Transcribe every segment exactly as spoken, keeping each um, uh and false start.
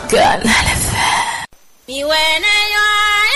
Canal F M. Mi wɛ ne nyɔ,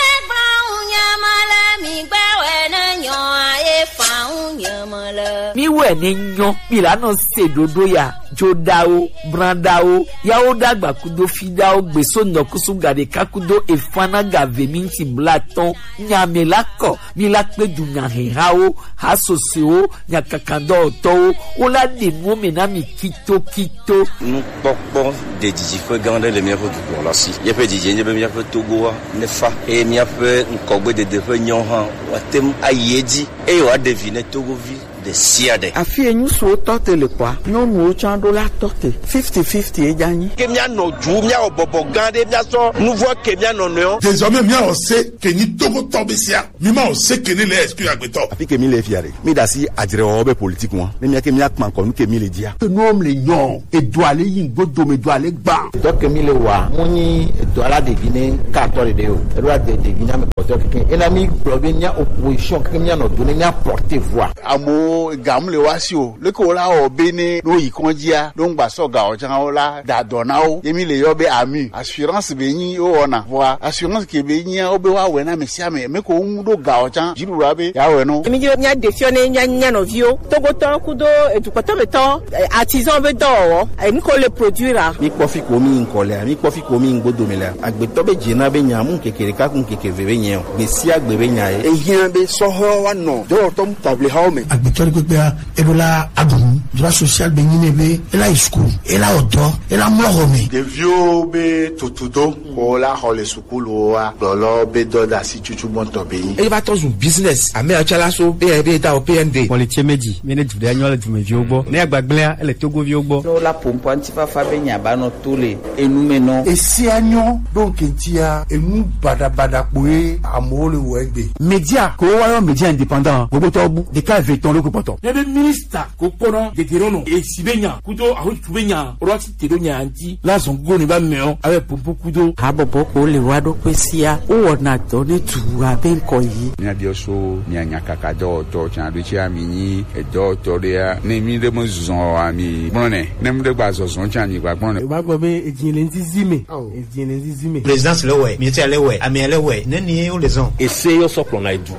e gba ŋu nyama le, mi gba wɛ ne nyɔ, e fa ŋu nyama le. Mi wɛ ne nyɔ, mi la nɔ se ɖoɖo ya, joɖawo, branɖawo, yawo ɖagba kudo fiɖawo, gbeso nɔkusu gaɖeka kudo efana gave minti blatɔn, nyame la kɔ, mi la kpe du nyahehawo, hasosewo, nyakakadɔwɔtɔwo, wo la ɖe nuwo me na mi kitokito. Nukpɔkpɔ ɖe didi ƒe gã aɖe le míaƒe dukplɔla si. Míaƒe didi nye be míaƒe Togoa nefa, eye míaƒe ŋkɔgbedede ƒe nyawo hã woate ŋu ayi edzi, eye wòaɖe vi ne Togovi ɖe sia ɖe. Afi ye ŋutsuwo tɔ te le kɔa, nyɔnuwo tsã ɖo la tɔ te. Fifty fifty ye dza nyi. Ke míanɔ du, míawɔ bɔbɔ gã aɖe, míasɔ nuvɔ ke mía nɔnɔewo. Désormais, míawɔ se ke nyi Togotɔ be sia. Mi ma o se ke ne le esprit agbetɔ. Afi ke mi le fia ɖe, mi ɖe asi adzrewɔwɔ be politique ŋua. Ne mía ke mía kpa ŋkɔ nu ke mi le dzia. Ke nuwo le nyɔ, edoa le yi ŋgbo dome, edoa le gba. Dɔ ke mi le wa, mu nyi edoa la ɖevi ne ka atɔ ɖeɖe o. Eɖo ade ɖevi na me kpɔtɔ keke. Ena mi gblɔ be mía opposition keke mía nɔ do ne mía porter voix. Amewo ga mu le wa si o. Leke wo la wɔ be ne wo yi kɔndzia, ɖo ŋgba sɔ ga o tsã wo la da dɔ na wo. Ye mi le yɔ be ami. Assurance be nyi wo wɔna. Vɔa assurance ke be nyia wo be wa wɛ na ame sia ame. Me ko ŋu ɖo ga o tsã. Dziɖuɖua be ya wɛ no. Mi dzo mia de fiɔ ne mia nya nɔviwo. Togotɔ kudo edukpɔtɔ me tɔ, eh, artisan be dɔwɔwɔ. Eh, nu ko le produire a. Mi kpɔ fi ko mi ŋkɔ lea, mi kpɔ fi ko mi ŋgbo dome lea. Agbetɔ be dze na be nya mu keke ɖeka ku keke ve be nya o. Gbe sia gbe be nya ye. Ehiã be sɔhɔ wa nɔ dɔwɔtɔ mu table hawo me. Agbetɔ ɖe kpekpea, eɖo la aɖu nu. Droit social be nyi nɛ be ela yi school, ela wɔ dɔ, ela mlɔ xɔ me. Ɖeviwo be tutudo ko la xɔ le sukuluwoa, gblɔlɔ be dɔdeasi tutu gbɔntɔ be nyi. Eye va tɔ zu business. Ame atsalaso be be da o P N D. Kpɔli tse meji, mi ne du ɖe nyɔ le dumeviwo gbɔ. Ne agbagblẽa, ele Togoviwo gbɔ. Ne wola ƒo ŋkɔ ŋutifafa be nya ba nɔ to le enu me nɔ. Esia nyɔ ɖo ŋke ŋutia, enu baɖabaɖa kpoe amewo le wɔ egbe. Media ko wa yɔ media indépendant, gbogbo tɔ bu ɖeka eve tɔn loko kpɔtɔ. Ne be ministre ko kpɔna dede ɖo nɔ esi be nya kudo ahotu be nya ro ati te ɖo nya ŋuti la zɔn go ne ba mɛ o abe popo kudo. Habɔbɔ ko le wa ɖo kpe sia, wo wɔna dɔ ne du abe ŋkɔ yi. Mia biɔ so mia nya kaka dɔwɔtɔ tsan ɖo tsi ami nyi edɔwɔtɔ ɖea, ne mi ɖe me zɔn ami gblɔ nɛ, ne mi ɖe gba zɔzɔn tsan mi gba gblɔ nɛ. Ba gbɔ be edzi le ŋzizi me. Ao. Edzi le ŋzizi me. Présidence le wɛ, ministère le wɛ, amea le wɛ, ne ni wo le zɔn. Ese yo sɔ kplɔna edu.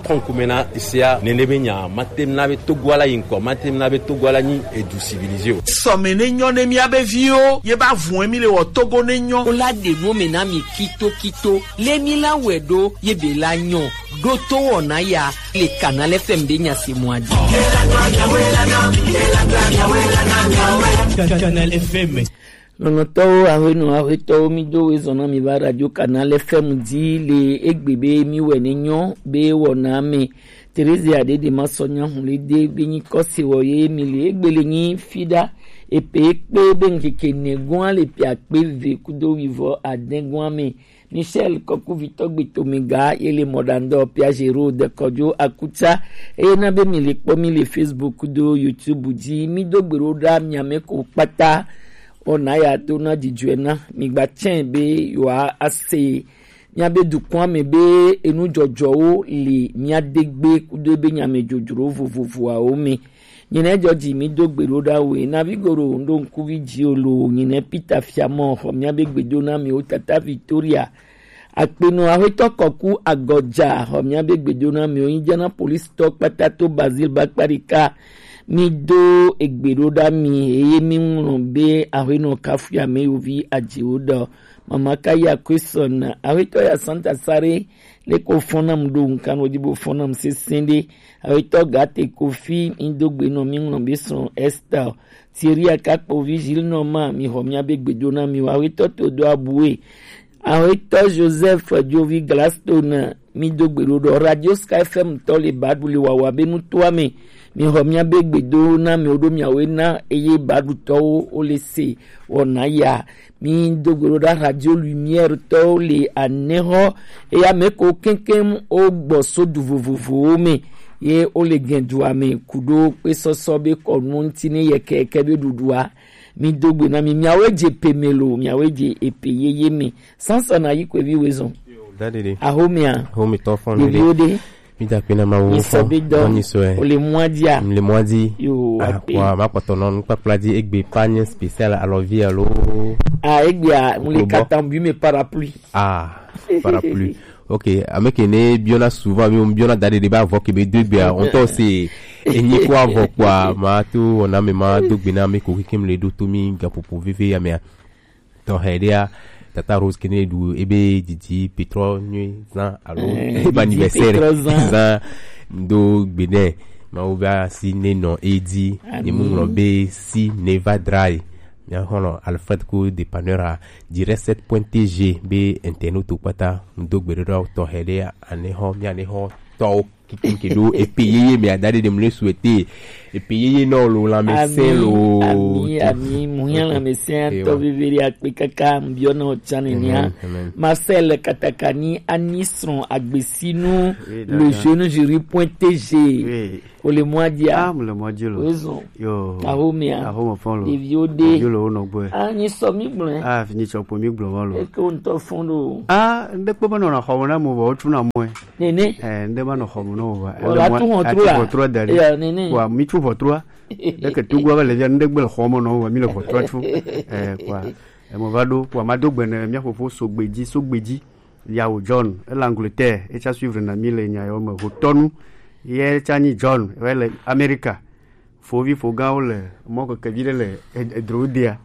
Kɔnkume na esea nene be nya, mate na be Togo ala yi ŋkɔ, mate na be Togo ala nyi edu civilisé o. Sɔme ne nyɔ ne mía be viwo, ye ba vun mi le wɔ Togo ne nyɔ. Wo la ɖe nu me na mi kito kito, le mi la wɛ ɖo, ye be la nyɔ. Ɖo to wɔna ya, le Canal F M be nya se mɔ adi. Canal F M. Lɔlɔ̃tɔwo, aƒenɔ, aƒetɔwo, mi do we zɔn na mi va Radio Canal F M dzi le egbe be mi wɛ ne nyɔ be wɔna me. Theresia Dede ma sɔ nya hu le de be nyi kɔse wɔ ye mi le egbe le nyi fi ɖa. Epe kpe be ŋkeke ne gɔa le pe akpe ve kudo wivɔ ade gɔa me. Michel Kɔkuvitɔ Gbetomega ye le mɔɖaŋudɔ Piaggero dekɔdzo akutsa eye na be mi le kpɔ mi le Facebook do YouTube dzi. Mi do gbe ɖo ɖa mia me ko kpata. Ona ya do na dzidzɔe na mi gba tsɛ be yewoa ase mia be dukɔa me be enu dzɔdzɔwo le mia de gbe kudo be nya me dzodzro vovovoawo me. Nyinɛ dzɔdzi mi do gbe ɖo ɖa we. Navi goro ŋɖo ŋkuvi dzi o lo. Nyinɛ Peter Fiamɔ xɔ mia be gbedo na mi o tata Victoria. Akpenɔ Axwetɔ Kɔku Agɔdza xɔ mia be gbedo na mi o. Yin jana polisitɔ kpata to Bazil bakpa ɖeka. Mi do egbe ɖo ɖa mi eye mi ŋlɔ be Axwenɔ Kafuya me yovi adziwo ɖɔ. Mama Kaya Kwesɔn Axwetɔ ya Santa Sare. Leke wo fɔn nam ɖo ŋkan wo di bo fɔn nam sesẽ ɖe. Awetɔ Gate Kofi, mi do gbe nɔ mi ŋlɔ be srɔ̃ Esther. Thierry Akakpovi Gilles Norma, mi xɔ mia be gbedo na mi o. Awetɔ to do abue. Awetɔ Joseph Jovi Gladstone, mi do gbe ɖo ɖɔ Radio Sky F M tɔ le baɖu le wawa be nutoa me. Mi xɔ mia be gbedo na mi o ɖo miawe na eye baɖutɔwo wo le se wɔna ya. Mi do gbe ɖo ɖa Radio Lumière tɔwo le anɛxɔ eya me ko keŋkeŋ wo gbɔ so du vovovowo me ye wo le gɛn dua me ku ɖo kpe sɔsɔ be kɔnu ŋuti ne yɛkɛyɛkɛ be ɖuɖua. Mi do gbe na mi, miawoe dze pe me lo, miawoe dze epe yeye me. Sansana yi kwe vi wezɔn. Daddy ɖe. Axomea. Axometɔ fɔn ɖe. Ɖeviwo ɖe. Mi da akpe na Mawu. Nyi sɔ be dɔ. Nyi sɔ ɛ. O le mɔa dzi a? Mi le mɔa dzi. Yo, ah, akpe. Wa ma kpɔtɔ nɔ nukpakpla dzi egbe pa nye spécial alɔvi alo. Ah, egbe a, mu le kata bi me parapluie. Ah, parapluie. Ok, ame ke ne biɔna souvent, mi biɔna da ɖe ɖe ba vɔ ke be do egbe a, on tɔ se enyi ko avɔ kpɔa, ma to wɔna me ma do gbe na ame ko ke ke mi le ɖo to mi gaƒoƒo veve ya mea. Tɔxɛ ɖea, Tata Rose kene ɖu ebe didi pétrole nyui zan alo eh, ebe didi anniversaire pétrole zan. Zan do gbe nɛ. Mawu be asi ne nɔ edi. Amin. Ne mu ŋlɔ be si ne va dra yi. Mia xɔlɔ Alfred ko dépanneur a dix sept point T G be internet to kpata ŋdo gbe ɖo tɔxɛ ɖe ane xɔ mia ne xɔ tɔwo. Kikin ke ɖo epe yeye me ada ɖe ɖem le souhaiter epe yeye nɔ lo lãmesẽ lo. Ami, ami, muhiã lãmesẽ tɔ veve ɖe akpe kaka mbiɔ na o tsa nenia. Amen, amen. Marcel Katakani ani srɔ̃ agbesinu. Oui, le dada. Jeune jury point T G. Oui. O le mɔa dzi a? Ah, mo le mɔa dzi lo. Raison. Yo. Ahomia. Ahome fɔn lo. Ɖeviwo ɖe. Ɖeviwo le wo nɔgbe. Ah, nyi sɔ mi gblɔe. Ah, fi nyi sɔ kpo mi gblɔ mɔ lo. Eke wo ŋutɔ fɔn ɖo. Ah, ŋɖe kpe menɔna xɔme na mo vɔ wotu na mɔe. Nene. Eh, ŋɖe ma nɔ xɔme na wo va. Wala tu ʋɔtru la. Atu ʋɔtru da ɖi. Ya, nene. Wa mi tu ʋɔtrua. Ɖeke tugua va le via ŋɖe gbe le xɔme na wo va mi le ʋɔtrua tu. Eh, kwa. Emo va ɖo kwa ma do gbe ne mia fofo so gbe dzi, so gbe dzi. Yawo John, ele Angleterre, etsa suivre na mi le nya yo me hotɔnu. Ye tsa nyi John, ele America. Fovi fogãwo le mɔ keke vi ɖe le ed-, edro dea.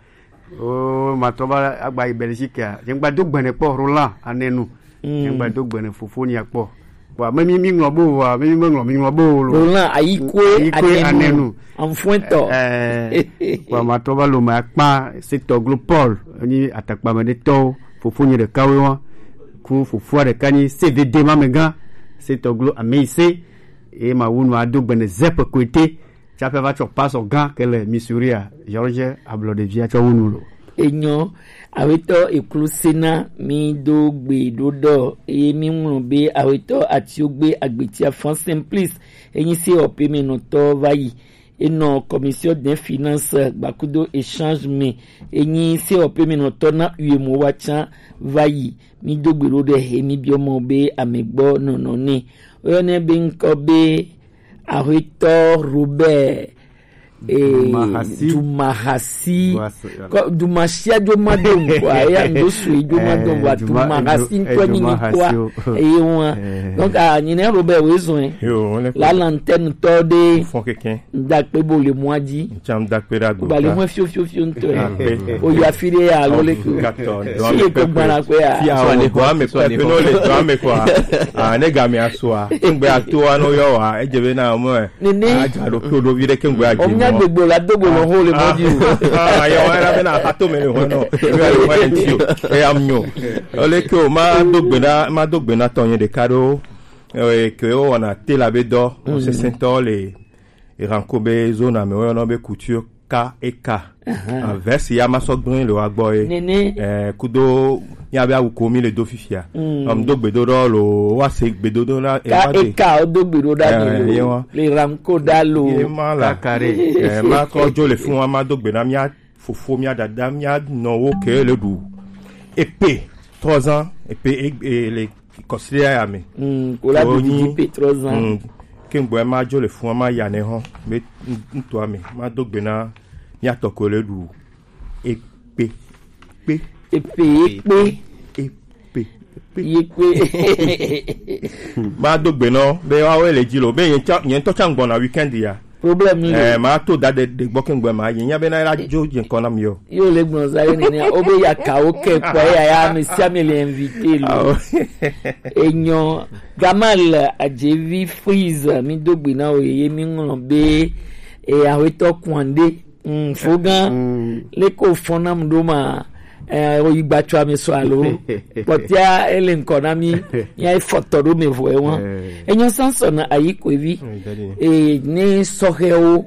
O, matrɔ va agba yi Belgique a. Ye ŋgba do gbene kpɔ Roland Anenu. Mm. Ye ŋgba do gbene fofo nya kpɔ. Wa me mi, mi ŋlɔ bo wa, me mi me ŋlɔ, mi ŋlɔ bo lo. Roland Ayikwe Ayikwe Anenu. Anenu. Anfuetɔ. Eh, wa matrɔ va lo me akpa, se tɔglo Paul, ni atakpa me ɖe tɔwo, fofo nye ɖeka wo wa. Ku fofoa ɖeka nyi C V D ma me gã, se tɔglo Ameise. Ye ma wu nu ado gbene Zep Koete. Tsaƒe va tsɔ pasɔ gã ke le Missouri a, George Ablɔɖevia tsɔ wu nu lo. Enyɔ, awetɔ eklu sena mi do gbe ɖo ɖɔ, eye mi ŋlɔ be awetɔ Atiogbe Agbetia Fan Simplice, enyi se ɔpe me nɔtɔ va yi. Enɔ Commission des Finances gbakudo échange me, enyi se ɔpe me nɔtɔ na uyemo wa tsa va yi. Mi do gbe ɖo ɖe he mi biɔ mɔ be ame gbɔ nɔnɔ ne. Oyɔ ne be ŋkɔ be Ahuetɔ Robert, eh, Dumahasi. Dumahasi. Dumasi. Kɔ, Dumasia dzo ma do ŋkɔa, ya ŋdo sue dzo ma do ŋkɔa, eh, Duma-, Dumahasi eh, ŋkɔ nyi Dumahasi ŋkɔa, o. Eye wa. Eh. Donc, ah, nyine Robert we zɔn, eh. Yo, on est la lanterne tɔ de. Fɔn kɛkɛ. Ŋda kpe bo le mɔa dzi. Ŋtsam da kpe ɖe agbe. Ba le mɔ fio, fio, fio ŋtɔ ya. Akpe. O ya fi ɖe ya, alo le ko. Gatɔ, si le ko gbana ko ya. Fia o, dɔ ame kɔ, pe no le dɔ ame kɔ. Ah, ne ga mi asoa. Ŋgbe ato ano yɔ wa, edze be na mɔ. Nene. Adza ɖo klo ɖo vi ɖe ke ŋgbe adze. O nya gbegbo la do gbolo ho le mɔ dzi o. Ah, ya wa na be na ato me le ho no. Ebe le ho enti o. E ya mnyo. Ole ke o ma do gbe na, ma do gbe na tɔ nye ɖeka ɖo. Eh, ke o wana te la be dɔ, o sesẽ tɔ le. Eranko be zona me woyɔnɔ be couture K E K. Ahan. Ah, vɛsi ya ma sɔ gblẽ le wa gbɔ ye. Nene. Eh, kudo ya be awu ko mi le do fifia. Mm. Ɔm do gbedoɖɔ lo, wa se gbedoɖɔ la, eh, wa de. K E K o do gbedoɖɔ da lo. Eh, ye wa. Le Ranko da lo. Ye ma la. Kakare. Eh, ma kɔ dzo le fun wa ma do gbe na mia fofo, mia dada, mia nɔwo ke le ɖu. Epe, trois ans, epe, e, e, le kɔsiɖa ya me. Mm, ko la do didi pe trois ans. Mm, ke ŋgbɔ ma dzo le fun ma ya ne hɔn. Me ŋutɔ me ma do gbe na mia tɔ ko le ɖu. Ekpe, kpe. Epe, ekpe. Ekpe, kpe. Ekpe. Ma do gbe nɔ be wa we le dzi lo be nye ŋutɔ tsa ŋgbɔ na weekend ya. Problème le. Eh, ma to da de, de gbɔ ke ŋgbɔ ma yi. Nya be na la dzo dze ŋkɔ na mi o. Yo le gbɔn za ye nene. O be ya ka o ke kpɔ ya ya mi sia mi le invité lo. Ah, o. Enyɔ Gamal Adjevi Freeze mi do gbe na o ye mi ŋlɔ be e awetɔ Kwande. Mm, fogan. Mm. Le ko fɔn na mu do ma. Eh, o yi gbatsɔ ame sɔ alo. Kpɔtia ele ŋkɔ na mi. Ya e fɔtɔ do me vɔ e wan. Eh. Enyɔ Samson ayi ko evi. Mm, daddy. E ne sɔhɛwo.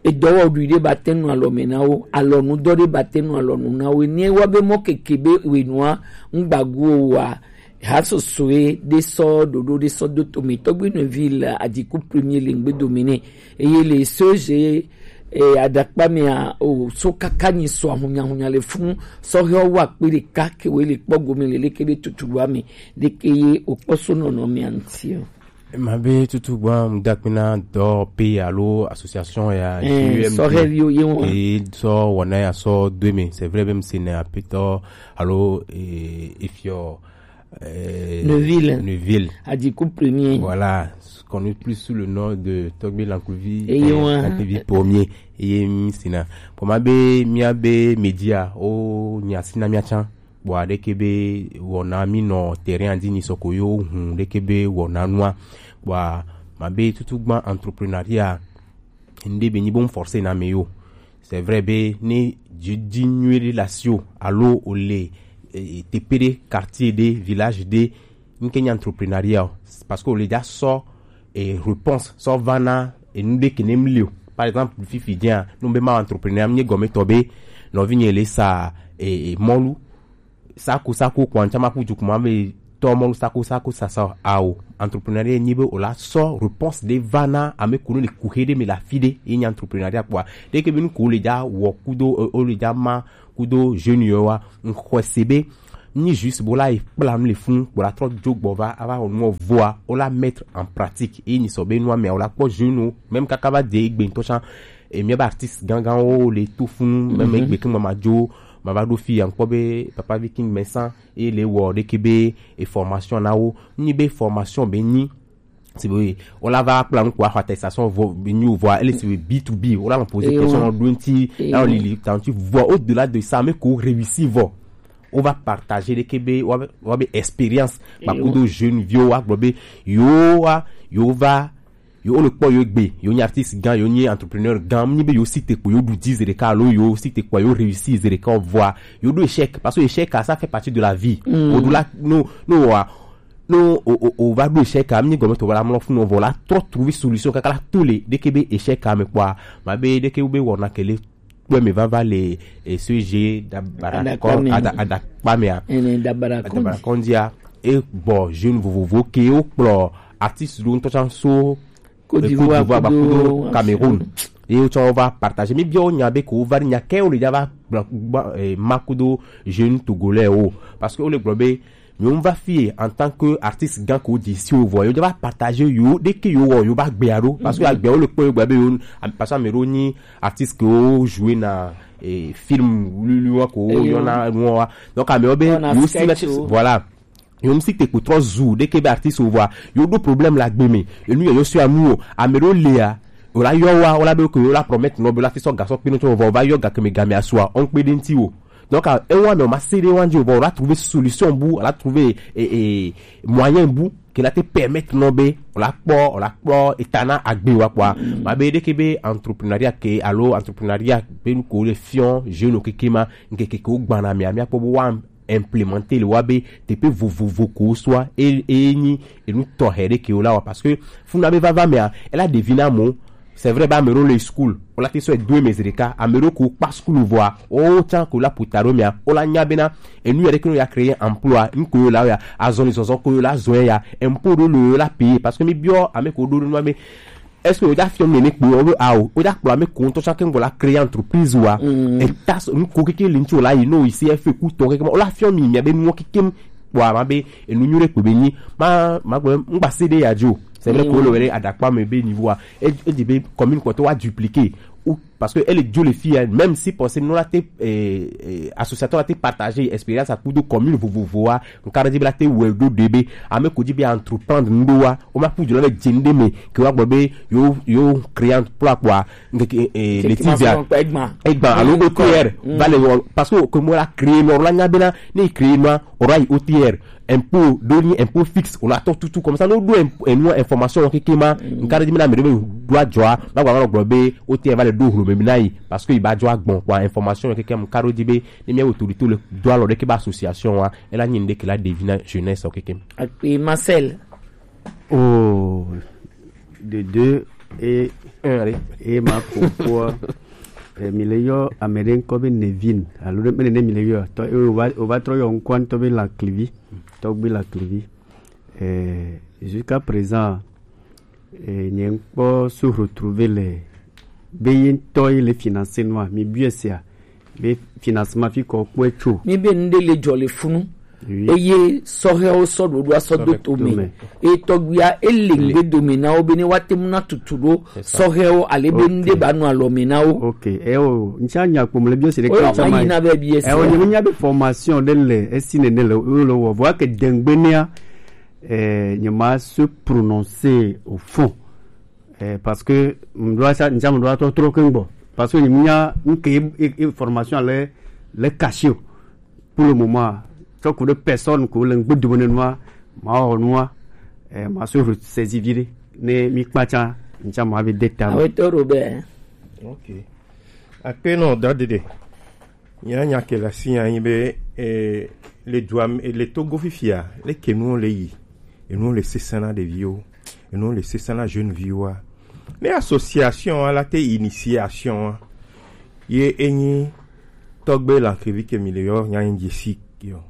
Edɔwɔɖui ɖe ba te nu alɔ me na wo. Alɔnudɔ ɖe ba te nu alɔnu na wo. Ne wa be mɔ keke be wenua ŋgbagu o wa. Ha sosoe ɖe sɔ ɖoɖo ɖe sɔ do to me tɔgbe nɔvi le adiku premier le ŋgbe do me ne. Eye le so je, eh, adakpa mea, o, so kaka nyi so ahunya hunya le fun, sɔhɛ wa kpe ɖeka ke we le kpɔ gome le leke be tutu wa me, ɖeke ye o kpɔ so nɔnɔ mea ŋti o. Mabe tutu gba mudakpina dɔ pe alo association ya Eh, sɔhɛviwo ye wɔn. E sɔ wɔna ya sɔ do eme. C'est vrai, même si ne apetɔ alo eh, efiɔ eh, Neuville. Neuville. Adiku premier. Voilà, connu plus sous le nom de Togbe Lancluvi Et Yohan. Lancluvi premier. Eye mi sina. Pour ma be mi a be media o nya sina mi a chan. Bua deke be wɔna mi nɔ terrain andi ni sɔko yo hun deke be wɔna nua. Bua ma be tutu gban entrepreneuriat. Nde be ni bon forcer na me yo. C'est vrai be ni didi nyuie de la sio alo o le eh, tepede quartier de village de nke ni entrepreneuriat o. Parce que o le ja sɔ et réponse sɔ va na et nous de kenem lio. Par exemple fifi dia nous be ma entrepreneur mi gome tobe no vi ni le sa et molu sako sako kwancha ma kuju kuma be to molu sako sako sasa ao entrepreneuriat ni be o la sɔ réponse de va na ame kunu le kuhe de me la fide e ni entrepreneuriat quoi. De ke be nu ko le ja wo kudo o le ja ma kudo jeune yo wa nkwese be ni juste bo la e kpla nu le fun bo la trɔ jo gbɔ va ava o nu voa o la mettre en pratique e ni sɔ be nu ame o la kpɔ jeune o même kaka va de egbe ntɔ chan e mi ba artiste gangan o le to funu même egbe ke ma ma jo ma va do fi ankpɔ be papa viking mesan e le wɔ de ke be e formation na wo ni be formation be ni si be o la va kpla nu ko a attestation vo ni o voa ele si be b to b o la poser question do nti la o lili tanti voa au delà de ça mais ko réussi vo o va partager de ke be wa be expérience ba kudo jeune vieux wa gbo be yo wa yo va yo o le kpɔ yo gbe yo ni artiste gan yo ni entrepreneur gan ni be yo si te kpo yo du dix de ka lo yo si te kpo yo réussi de ka voa yo do échec parce que échec ça fait partie de la vie au delà no no wa no o o o va do échec am ni gome to wala mlo fun no vola trop trouver solution kaka la tole de ke be échec am quoi ma be de ke be wona kele kpɔe me vava le eh, ce jeu d'abara- Adakpame. ada- adakpamea Ene dabara adabara kɔndia e gbɔ jeune vovovo ke o kplɔ artiste do ŋutɔ can so Côte eh, d'Ivoire, Côte d'Ivoire kudo kudo Cameroun ye o tsɔ va partager mi bia o nya be ko va nya ke o le ja va gba- gba- eh, ma kudo jeune togolais o parce que o le gblɔ be mi o va fie en tant que artiste gan ko di si o vɔ yo ja va partager yo de ke yo wɔ yo va gbe aro parce que agbe o le kpɔ yo gbe be yo parce que amero ni artiste ke o jouer na eh, film lulu wa ko Eyo. Yo na no wa donc amero be On a yo si sketch na o. Voilà. Yo mi si te ko trop zu de ke be artiste o vɔ yo do problème la gbe me enu yo yo si amu o amero le a o la yɔ wa o la be ko o la promettre no be la fi sɔ gasɔ kpe no tso vɔ o va yɔ ga ke me ga me asua on kpe de nti o donc a e wa me o ma se de wa nji o vɔ o la trouver solution bu o la trouver eh, eh, moyen bu ke la te permettre no be o la kpɔ o la kpɔ etana agbe wa quoi ma be de ke be entrepreneuriat ke alo entrepreneuriat be nu ko le fion jeune o keke ma nke ke ko gbana mi ami akpɔ bo wa implémenter le wa be te pe vovovo ko soit e e ni e nu tɔ he de ke o la wa parce que funa be va va me a elle a devina mo c'est vrai ba me le school o la te so e deux mes de ka a me ko pa school voa o tan ko la putaro me a o la nya bena e nu ya de ke no ya créer emploi n ko yo la ya azɔn ni zɔzɔ ko yo la zɔn ya impôt do le la payer parce que mi bio ame ko do no me est-ce que o ja fion mi ne kpo o be a o o ja kpo ame ko to chaque ngo la créer entreprise wa e ta so n ko keke le nti o la yi no ici F E ku to keke o la fion mi mi be nu keke kpo ma be e nu nyure kpo be ni ma ma gbe ngba C D ya jo c'est vrai ko le wele adakpa me be niveau a e e di be commune ko to wa dupliquer ou parce que elle est Dieu le fille même si pour nous la te eh, eh, associateur la te partager expérience à coup de commune vous vous voir on carré la te ouais do debe ame ko di be entreprendre ndo wa o ma pu de la jende me que wa gbo be yo yo créant pour quoi nge eh, les tibias Egban. Egban alo O T R va le wɔ parce que comme on a créé l'or la nya bena ni créé ma ora O T R impôt doni impôt fixe on attend tout tout comme ça nous doit une information qui qui ma on carré mina me doit joie ba ba gbo be O T R va le do hlo me mina yi parce que il va joie bon quoi information qui qui mon carré di be ni mi autorité le doit le que ba association wa elle a ni de que la devina jeunesse qui qui Et Marcel. Oh, de deux et et ma koko eh, mi le yɔ ame ɖe ŋkɔ be Nevin alo ɖe mene ne mi le yɔ tɔ eh, o va o va trɔ yɔ ŋkɔ ŋutɔ be Laklivi tɔgbi Laklivi eh, jusqu'à présent eh, nye ŋkpɔ so retrouver le be ye ŋutɔ ye le financer nua mi bue sia be financement fi kɔ kpɔe tso. Mi be nu ɖe le dzɔ le funu. Oui. Eye sɔhɛwo sɔ ɖoɖoa sɔ do to me. Eye tɔgbuia ele ŋgbe dome na wo be ne woate ŋu na tutu ɖo sɔhɛwo ale be nu ɖe ba nɔ alɔ me na wo. Ok, ewo ŋtsa nya kpɔm le biɔ si ɖe kɛ ŋtsa ma yi na be biɔ si. Ewo nye nya be formation ɖe le esi nene le wo le wɔ vɔ ake dengbe nea eh, nye ma se prononcer au fond. Eh, parce que mdoa sa nja mdoa to trop ke ngbo. Parce que nya nke e, e, e formation le le caché pour le moment. Tant que de personnes que le ngbe de noir ma o noir eh, ma se saisi vide ne mi kpacha nja ma ve détail. Awe to Robert. Ok. Akpe no dadede. Nya nya ke la si anyi be eh, le dua le Togo fifia le ke nu le yi. Enu le sesana ɖeviwo, enu le sesana jeune viwoa. Ne association a la te initiation a ye enyi tɔgbe la kevi ke mi le yɔ nya nyi si yo.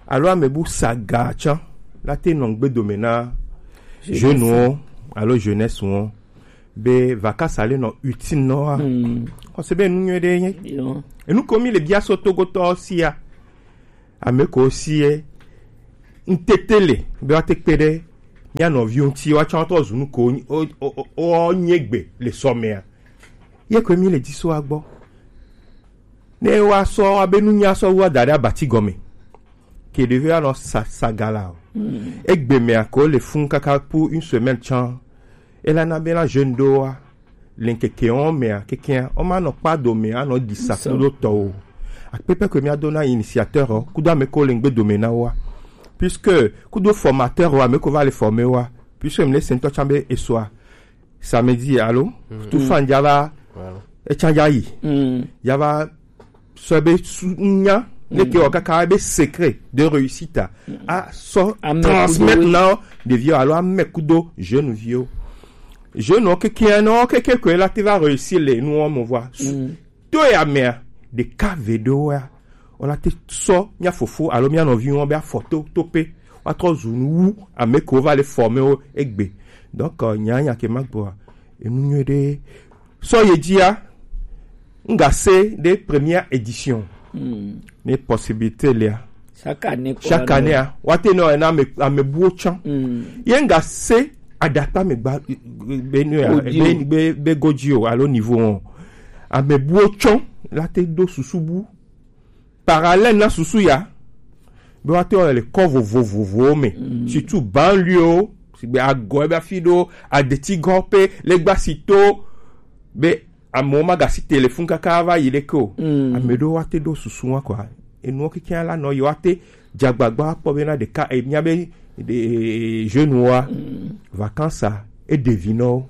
Alo amebu saga tsan la te nɔ gbe dome na jeune wo alo jeunesse wo be vacances ale nɔ utile nɔ wa. Ɔse be nu nyuie ɖe nye. Enu ko mi le bia so Togotɔ sia. Ame ko si ye ŋtete le be woate kpe ɖe mía nɔviwo ŋuti woatsɔ wotrɔ zu nu ko wonye gbe le sɔ mea. Ye koe mi le dzi so agbɔ. Ne woasɔ abe nunya sɔ wu ada ɖe abati gɔme. Ke ɖevi anɔ sa sagala o. Egbe mea ko le fun kaka pour une semaine tsã. Ela na be na jeune ɖoa le ŋkeke wɔn mea kekea wɔn ma nɔ kpa dome anɔ ɖi sa kudo tɔwo. Akpekpe koe mía do na initiateur ɔ kudo ame ko le ŋgbe dome na woa. Puisque kudo formateur ɔ ame ko va le former woa. Puisque mi le se ŋutɔ tsã be esoa samedi alo tout fan dza va etsa dza yi ya va sɔ be su nya ne ke wɔ kaka be secret de réussite a sɔ transmettre na ɖeviwo alo ame kudo jeune viwo. Jeune wo keke na wo keke koe la te va réussir le nu wo me vɔa. To ya mea ɖeka ve ɖewo ya wola te sɔ mía fofo alo mía nɔvi wo be afɔ to to pe woatrɔ zu nu wu ame ko va le former wo egbe. Donc nya nya ke ma gbɔa enu nyuie ɖe sɔ ye dzia. Nga se ɖe première édition ne possibilité lia. Chaque année a wate nɔ ena ame ame buwo tsã ye nga se adakpa me gba be nu ya be be be godzi o alo niveau o. Ame buwo tsã la te do susu bu parallèle na susu ya be woate wɔ le kɔ vovovovowo me surtout banlieue o sigbe agɔ ebe afi ɖo adetigɔ pe legbasi to be amewo magasi telefon kaka va yi ɖeke o. Ame ɖewo woate ɖo susu wa kɔa enuwo keke la nɔ yi woate dzagbagba kpɔ bena ɖeka e mía be jeune wa vacances a eɖevi nɔwo.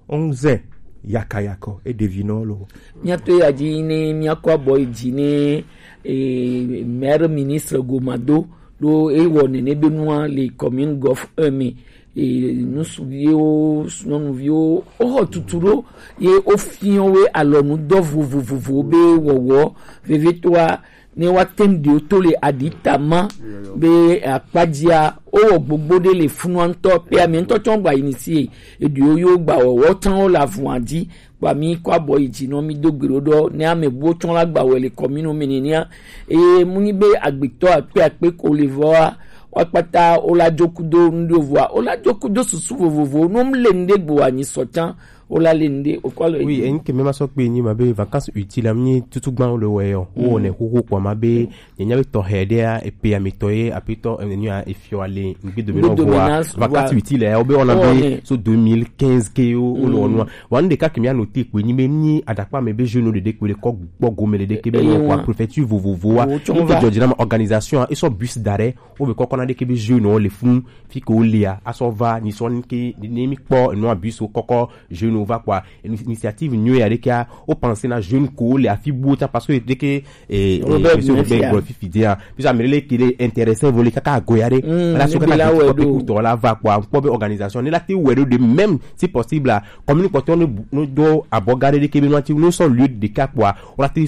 Onze yakayakɔ eɖevi nɔ lo. Míato ya dzi ne míakɔ abɔ yi dzi ne eh, maire ministre gomado ɖo ewɔ nene be nua le commune gɔf un me eh, nusuviwo nyɔnuviwo woxɔ tutu ɖo ye wofiɔ we alɔnudɔ vovovovo be wɔwɔ vevitɔa ne woate ŋu ɖewo to le aɖi tama be akpadzia wowɔ gbogbo ɖe le funua ŋutɔ pe ame ŋutɔ tsɔ gba yi ni si eɖewo yo gba wɔwɔ tsã wo le avua dzi kpa mi kɔ abɔ yi dzi nɔ mi do gbe ɖo ɖɔ ne ame buwo tsɔ la gba wɔ le kɔminu mi nenia eye mu nyi be agbetɔ akpe akpe ko le vɔa woakpata wola dzo kudo ŋɖo vɔa wola dzo kudo susu vovovo no mu le ŋɖe gbo anyi sɔ tsã wola le ŋɖe wokɔ le. Oui, enyi ke mema sɔ kpe nyi ma be vacances utiles am nyi tutugban wo le wɔ yɔ wo ne xoxo kpɔ ma be nye nya be tɔxɛ ɖe ya epe amitɔ ye apetɔ enya efiɔ ale ŋgbe dome na voa vacances utiles ya wo be wɔna be so deux mille quinze ke yo wo le wɔnua wa nu ɖeka ke mia note kpe nyi be nyi aɖakpa me be jeune ɖeɖe kpe ɖe kɔ gbɔ gome ɖeɖe ke be wɔ kɔ préfecture vovovoa ŋke dzɔdzina ma organisation esɔ bus da ɖe wo be kɔkɔ na ɖe ke be jeune wo le fun fi ke wo lia asɔ va ni sɔ ni ke ni mi kpɔ enua bus wo kɔkɔ jeune wo va kpɔa initiative nyuie ya ɖekea wo pense na jeune ko wo le afi buwo ta parce que ɖeke eh eh Robert Mefia gblɔ fifi dia puisque ame ɖe le ke ɖe intéressé vo le kaka agoya ɖe la so kaka ti kɔ pe kutɔ la va kpɔa kpɔ be organisation ne la te wɛ ɖo de même si possible la commune kpɔtɔ ne do abɔ ga ɖe ɖeke be nua ti ne sɔ lieu ɖeka kpɔa wo la te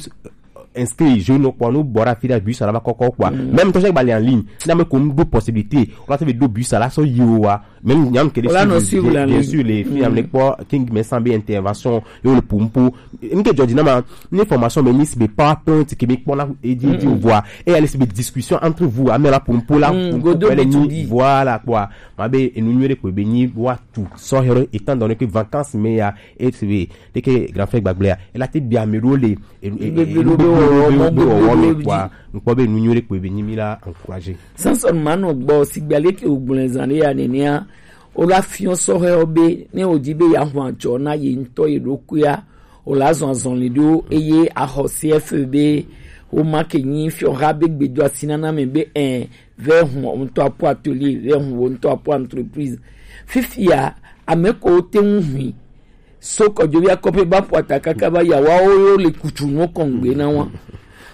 inscrit jeune kpɔ nu bɔ ɖe afi ɖe bus ala va kɔkɔ kpɔa même tɔ sɛ gba le en ligne na me ko nu do possibilité wo la te be do bus ala sɔ yi wo wa Même nyam ke de suivre, bien sûr, les filles am ne kpɔ king me sambe intervention yo le pumpu. Nke jodi na ma ni formation me ni si be PowerPoint ke mi kpɔ na e di di voix et aller si be discussion entre vous amela pumpu la pumpu. Voilà quoi. Ma be enu nyuie de ko be ni wa tu so hero étant donné que vacances me ya et c'est de ke grand frère gbagble ya. Et la te bia me role e e e be wo mo be wo me quoi. Nkpɔ be enu nyuie de ko be ni mi la encourager. Samson manɔ gbɔ sigbe ale ke ogblẽ zã ɖe ya nenea. Wola fiɔ sɔhɛwo be ne wòdi be yeaxɔ adzɔ na ye ŋutɔ ye ɖokuia, wola zɔ azɔli ɖo eye axɔ C F E be woma ke nyi fiɔha be gbedoasi nana me be ɛ vɛ hu wò ŋutɔ apo atelier, vɛ hu wò ŋutɔ apo entreprise. Fifia ame ko wote ŋu hui so kɔdzovi akɔƒe ba ƒo ata kaka va ya woawo yo le kutu nuwo kɔŋgbe na wa.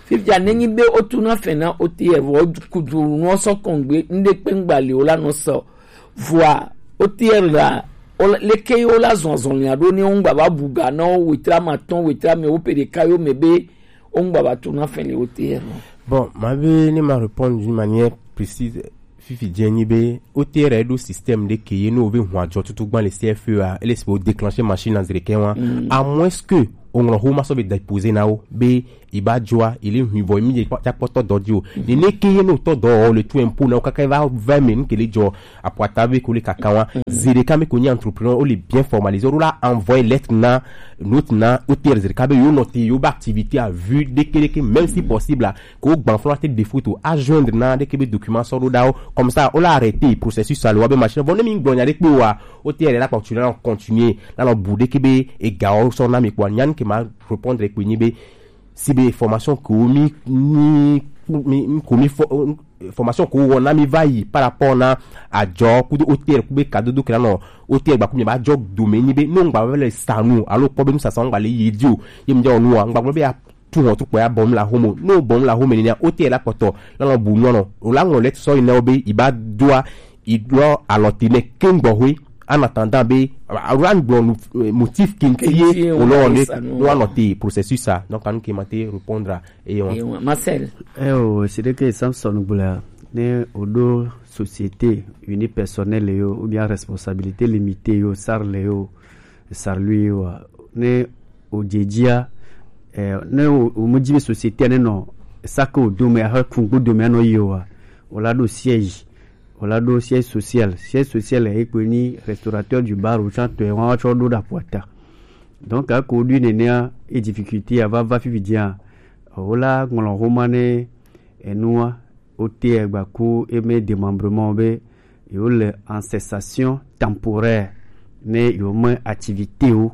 Fifia nenyi be wotu na fɛ na O T F vɔ kutu nuwo sɔ kɔŋgbe ŋɖe kpe ŋgba le wo la nɔ sɔ. Vɔa O T F la leke ye wo la zɔ azɔlia ɖo ne wo ŋgba va bu ga na wo wetra ma tɔn wetra me wo pe ɖeka yo me be wo ŋgba va tu na fɛ le O T F. Bon, ma be ne ma répondre d'une manière précise. Fifi dze nyi be O T R ɖo système ɖe ke ye ne wòve hun adzɔ tutu gbã le C F E a, ele si be wo déclencher machine a zi ɖekɛ wa. À moins que oŋlɔ xo ma sɔ be déposer na wo be iba dzɔa, ele hui vɔ mi dze kpɔtɔ dɔ di o. Nene ke ye ne wotɔ dɔ o le tu impôt na wo kaka va va me nu ke le dzɔ apuata be ko le kaka wa. Zi ɖeka me ko nyi entrepreneur o le bien formaliser o la envoyer lettre na note na O T R zi ɖeka be yo noter yo ba activité à vue ɖeke ɖeke même si possible a. Ko gbanflɔn ate de foto a joindre na ɖeke be document sɔ ɖo ɖawo comme ça o la arrêter processus a le wa be machine vɔ ne mi gblɔ nya ɖe kpe wa O T R la kpɔ tu la continuer la nɔ bu ɖeke be ega wo sɔ na mi kpɔ nya nu ke ma répondre kpe nyi be si be formation ko mi mi mi ko mi fo formation ko wɔ na mi va yi par rapport na adzɔ kudo O T R ku be kadodo ke la nɔ O T R gba ku mi ba dzɔ dome nyi be no ŋgba be le sanu alo kpɔ be nu sasa ŋgba le yi di o ye mi dzɔ nu wa ŋgba gblɔ be ya tu hɔn tukpɔ ya bɔm la homo no bɔm la homo nenia O T L la kpɔtɔ la nɔ bu nyɔnɔ o la ŋlɔ lɛ sɔ yi na wo be i ba doa i lɔ alɔ ti nɛ ke ŋgbɔ hoe ana tanda be a wa ŋgblɔ nu motif kinti ye o lɔ ne no anɔ te processus a donc anu ke ma te répondre a eye wa. Marcel. Eh o c'est que Samson gbla ne o do société unipersonnelle yo ou bien responsabilité limitée yo sarle yo sarlui wa ne o dze dzia eh, ne o o mu dzi be société ne nɔ sake o dome ahe kungbo dome anɔ yi o wa o la ɖo siège o la ɖo siège social siège social e kpe ni restaurateur du bar o tsã tɔ e wa tsɔ ɖo ɖa ƒo ata donc a ko ɖui nenea e difficulté a va va fifi dzia o la ŋlɔ homa ne enua O T R gba ku eme démembrement be yewo le en cessation temporaire ne yewo me activité wo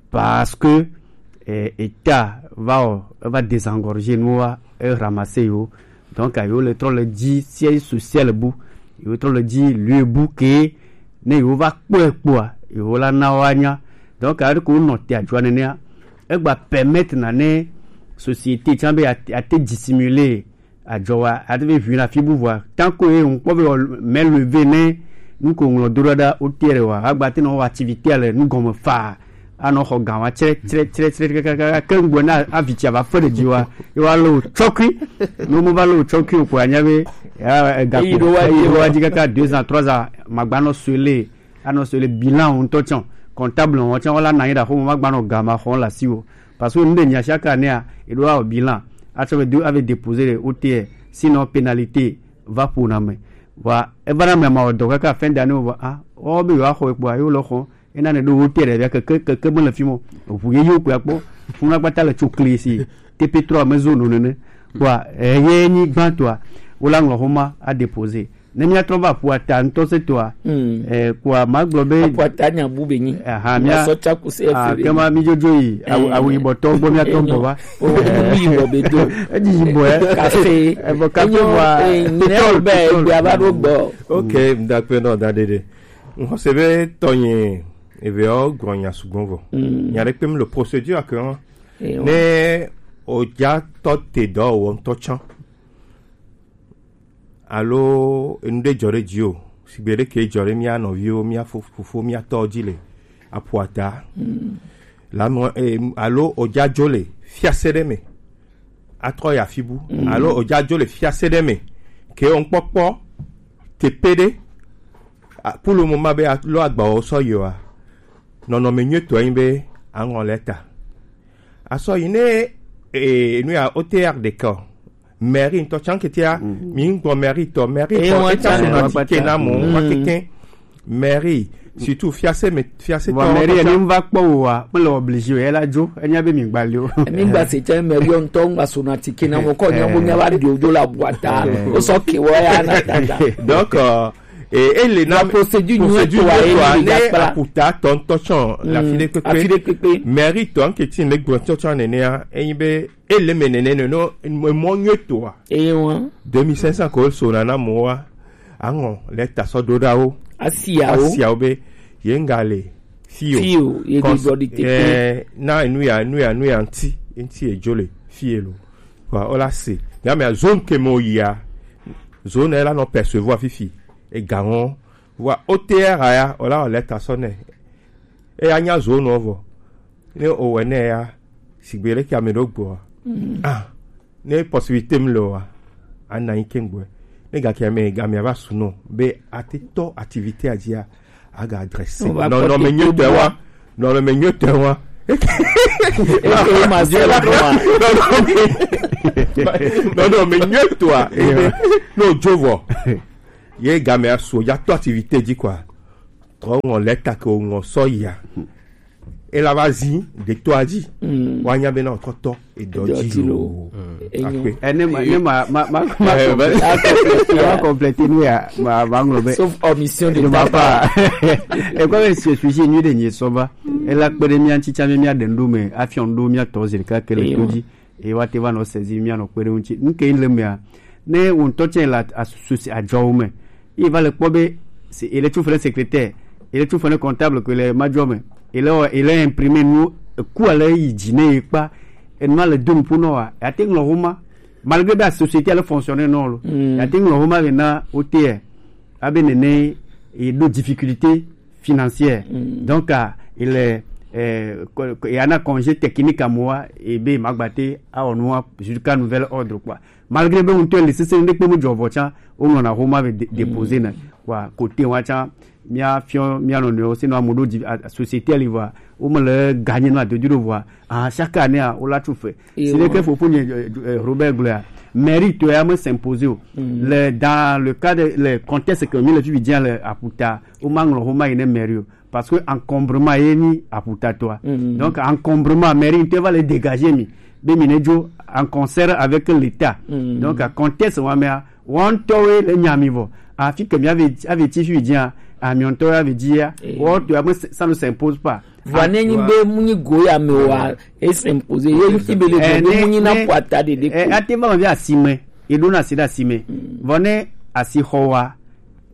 parce que eh, état va o va désengorger nous va e ramasser yo donc yewo le trɔ le dzi siège social bu yewo trɔ le dzi lieu bu ke ne yewo va kpɔe kpɔa yewo la na wa nya donc a ko nɔ te adzua nenea egba permettre na ne société tsã be ate dissimuler adzɔ wa ate be ʋui na fi bu vɔa tant que ye ŋkpɔ be mɛ leve ne nu ko ŋlɔ do ɖa O T R wa agba te nɔ wɔ activité le nu gɔme fa anɔ xɔ gan wa tsrɛ tsrɛ tsrɛ tsrɛ kaka ke ŋgbɔ na avi tsi ava fe ɖe dzi wa ye wa le o tsɔkui ne mo va le o tsɔkui o ko anya be ya ega ko eyi ɖo wa dzi kaka deux ans trois ans magba nɔ sue le anɔ sɔ le bilan ŋutɔ tsã comptable ŋutɔ tsã wala na anyi ɖe aƒeme magba nɔ ga ma xɔm le asiwò parce que nu ɖe nya chaque année a eɖo awɔ bilan atsɔ be do ave déposer ɖe O T R sinon pénalité va ƒo na me vɔa eva na me ma wɔ dɔ kaka fin d'année vɔ a wɔ be yewoa xɔ ekpɔa yewo le xɔ ena ne ɖo O T R ɖe via keke keke mele fi mɔ eʋu ye yewo kpɔa kpɔ funu akpata le tso kli si T P trois me zo no nene kpɔa eye nyi gbãtɔa wola ŋlɔ xɔma a déposer ne míatrɔ va ƒua ta ŋutɔ se toa eh, kua magblɔ be ƒua ta nya bu be nyi aha mía sɔ tsa ku se ah, efe be kema mi dzodzo yi awu awu yibɔ tɔ gbɔ mía tɔ gbɔ va o mi yibɔ be do edzi yibɔ ɛ kafe evɔ kafe enyo wa eh, nyina pitɔl be pitɔl gbe ava ɖo gbɔ. Ok, ndakpe nɔ da ɖeɖe ŋxɔse be tɔnye eveɔ gblɔ nya sugbɔ vɔ nya ɖe kpem le procédure ke ne o dza tɔ te dɔ wɔ ŋutɔ tsã alo enu ɖe dzɔ ɖe dzi o sigbe ɖe ke dzɔ ɖe mía nɔviwo mía fofo mía tɔwo dzi le aƒua ta la mɔ alo odzadzo le fiase ɖe me atrɔ yi afi bu alo odzadzo le fiase ɖe me ke wo ŋkpɔkpɔ teƒe ɖe Ah, pour le moment, be a- lo agbawo sɔ yoa. Nɔnɔme nyuitɔ anyi be aŋɔ lɛta. Asɔ yi ne eh, nu ya O T R de kɔ. Mairie ŋutɔ tsan ketia, mi ŋgbɔ mairie tɔ, mairie Eye tɔ, wan eta tsan so na wa tike kpata. Na mo, wa keke. Mairie, surtout fiase me, fiase Bon, tɔ, mairie tɔ ni tsan. M va kpɔ wo wa, me le obligé o, ela dzo, enya be mi gba le o. Mi gba se tse mairie ŋutɔ ŋgba so na tike na mo, kɔ nya mo nya va di ojo la bua ta. O sɔ ke wo ya na tata. Donc, euh, et, et les La procédure nyuitɔ wa, ye ne aputa tɔ ŋutɔ tsɔ la fi de kpekpe. Afi de kpekpe. Mairie tɔ nke ti ne gbɔ tɔ tsɔ nenea, enyi be ele me nene no, no, mɔ nyuitɔ wa. Eye wan. Deux mille cinq cents ko so na na mo wa. Aŋɔ lɛta sɔ do da wo. Asia wo. Asia wo be, ye ŋga le. Fi o. Fi o, ye do Cons- dɔ di tete. Eh, na nu ya, nu ya, nu ya ŋti, ŋti e jo le. Fi e lo. Wa, o la se. Ga me a zone ke mo ya. Zone e la nɔ percevoir fifi. E ga ŋɔ. Wa, O T R a ya, o la o lɛta sɔ ne. E ya nya zone o vɔ. Ne o wɛ ne ya, sigbe le ke ame ɖo gbɔ. Ah, ne possibilité m le wa, a na yi ke gbɔ. Ne ga ke ame, ga me va su no, be a te tɔ activité a dia, a ga adressé. On va Non, non, porter mais mieux tout te bois. Wa. Non, non, mais mieux te wa. Et que ma zéro trois. Non, non, mais, non, non, mais mieux toi. Non, je vois. Ye ga me a su, ya tɔ activité di quoi. Trɔ ŋɔ lɛta ke o ŋɔ sɔ ya. E la va zi de to a dzi. Wa nya be na o tɔ tɔ e dɔ Edɔ dzi dzi lo. Lo. Enyo. Akpe. Eh, ne ma, ne ma, ma, ma, ma Eh, compléter, ma compléter nu ya, ma, ma ŋlɔ be. Sauf omission de Ne ma ta part. Pas. Et quoi, ce sujet, nu de nye sɔ va. E la kpe ɖe mía ŋuti tsã be mía ɖe nu ɖo me, afiɔ nu ɖo mía tɔ zi ɖeka ke le Eyo. To dzi. Eye woate va nɔ sezi mía nɔ kpe ɖe eŋu ŋuti. Nu ke le mea, ne wò ŋutɔ tsɛ le as- assusi adzɔwo me, ye va le kpɔ be se- ele tso fene secrétaire, ele tso fene comptable ke le madzɔ me, ele wɔ- ele imprimer nu eku ale yi dzi ne ye kpa, enua le do nuƒo nɔ wa, ate ŋlɔ homa, malgré be a société ale fonctionner nɔ lo, ate ŋlɔ homa be na wote abe nene ye ɖo difficulté financière. Donc, ah, il est, euh, co- co- il y en a congé technique à moi, et ben, ma gbatté, à on noir, jusqu'à nouvel ordre, quoi. Malgré ben, on te le sese, ne peut me dire, tiens, on en a Roma avec dé- déposé, na, quoi, côté, on tient, mia fion, mia non, non, sinon, à mon dos, à société, elle y va, on me le gagne, non, de dire, voir, ah, chaque année, ah, on l'a tout fait. Si le ke fofo nye, eh, eh, Robert Gloria, mérite ya me s'imposer o. Le, dans le cadre, le contexte que mi le fi via le aputa, o ma ŋlɔ homa yi ne mairie o. Parce que encombrement ye ni aputa toi. Donc, encombrement, mairie te va le dégager mi. Be mi ne dzo en concert avec l'État. Donc, à contexte wa mea, wan to we le nyami vo. Afi ke mi ave, ave ti fi via, a mi on to ave dia. Wa to ya me, ça ne s'impose pas. Vɔ ne nyi be mu nyi go ya me wa, e s'imposer. Ye fi be le Eh, go ne- mu nyi na ne- puata de de eh, ko. Ate va vi asime, e ɖo na si ɖe asime. Vɔ ne asi xɔ wa,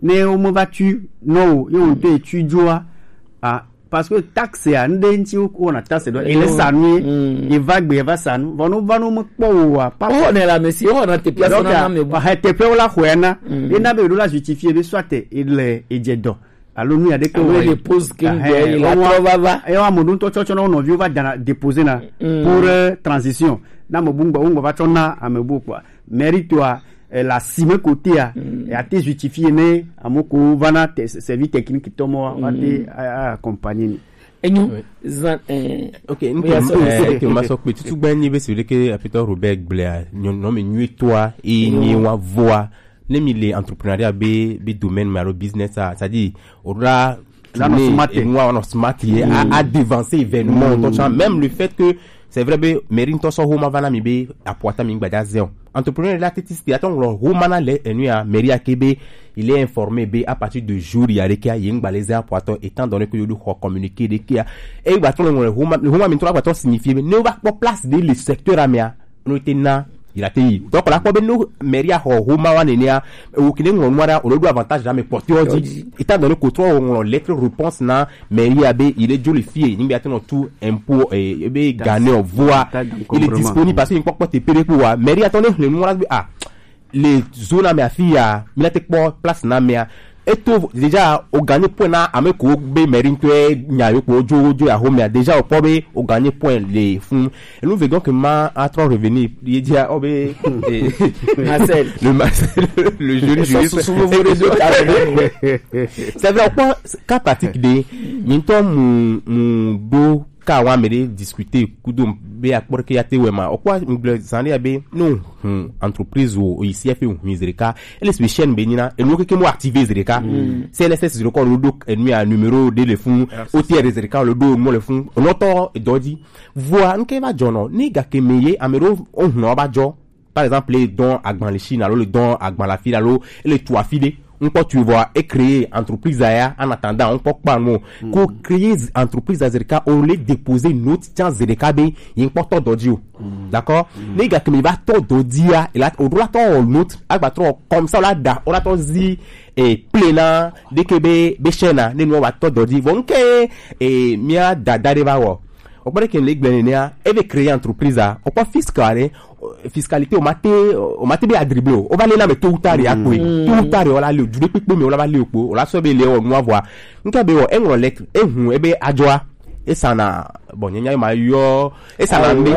ne wo me va tu, no, ye wo te tu dzoa, ah, parce que taxe ya, nde nti wo, wo na taxe do, e le sanu ye, e va gbe, e va sanu, vɔ no va no me kpɔ wo wa, pa. O ne la mesi, o na te pia Donc, sona na me bu. Ah, te pe wo la xɔ ya na, e na be ɖo la justifier be soit e le, e dze dɔ. Alo nu ya ɖe ke Alo wɔ. Le pose ke Ahɛ, ŋgɔ, la wɔ- trɔ va va. Eye wa mo ɖo ŋutɔ tsɔtsɔ na wo nɔviwo va dana déposer na pour, euh, transition. Na mo bu ŋgɔ, wo ŋgɔ va tsɔ na ame bu kpɔa. Mérite wa, eh, la sime côté ya. Ya te justifier ne amo ko va na te- service technique tɔ mɔ wa te a- a- accompagner ni. Enyo, zan, eh, Ok, n oui, ke- so- eh, ke ma sɔ kpe tutu gbɛ nyi be si ɖe ke apetɔ Robert gblea, nyɔ- nɔ mi nyuie toa, e nyi wa voa, ne mi le entrepreneuriat be, be domaine me alo business a, c'est-à-dire, o la, la no smart, e nua no smart ye, a, a devancer événement, ŋutɔ tsã, même le fait que, c'est vrai be, mairie ŋutɔ sɔ homa va na mi be, apuata mi gbadza zɛ o. Entrepreneur la titi sti atɔ ŋlɔ homa na le enu ya, mairie a ke be, il est informé be, à partir de jour ya ɖekea, ye ŋgba le zɛ apuatɔ, étant donné que yo do xɔ communiqué ɖekea, e gba tɔ le ŋlɔ homa, homa mi tɔ la gba tɔ signifié be, ne va kpɔ place de le secteur amea, no te na, il a te yi. Donc, la kpɔ be no mairie a xɔ homa wa nenea, o kine ŋlɔ nua ɖa, o le do avantage ɖa me kpɔtɔ dzi. Étant donné que trɔ ŋlɔ lettre réponse na mairie a be, il est joli fille, ni be atɔ no tu impôt, eh, be gane o voa, il est disponible parce que ni kpɔkpɔ te pere ko wa. Mairie atɔ ne hle nua be, ah, le zone ame afi ya, mi la te kpɔ place na mea. Eto déjà o gagné point na ame ko be mairie to e nya yo ko jo jo ya home déjà o po be o gagné point le fun. Et nous veillons que ma a trop revenir. Il dit ah, oh, be, eh, Marcel. Le Marcel, le jeune Eso juriste. susu vovo ɖe do ta ɖe. C'est vrai, quoi, cas pratique de, maintenant, mon, mon do, ka wa me de discuter kudo be akpɔr ke ya te wɛ ma o kwa ngble zani ya be no, hmm, entreprise o ici a fait un zreka. Elle est chaîne benina et nous que mo activer zreka. CNSS zreka le do et nous a numéro de le fond. OTR zreka le do mo le fond. Noto dodi. Voa nke ba jono ni ga ke meye amero o hno ba jo. Par exemple, le don agban le Chine, alo le don agban la fille, alo le tu afide. On peut tu vois et créer entreprise aya en attendant on peut pas non. Ko créer entreprise à Zerika, on les déposer note tiens Zerika be il peut to dodio. D'accord? Les gars que me va to dodia et là on doit to note agba trop comme ça là da on a to zi et plena de ke be be chena ne no va to dodi. Bon ke et mia dada de va wo. O pare ke le gbe ne a e be créer entreprise a o pa fiscale fiscalité o mate o mate be a dribble o va le na me tout tard ya ko tout tard o la le du pe pe me o la va le ko o la so be le o no avoir. Nka be o e ngro lettre e hu e be ajoa e sana bon nya ma yo e sana mbe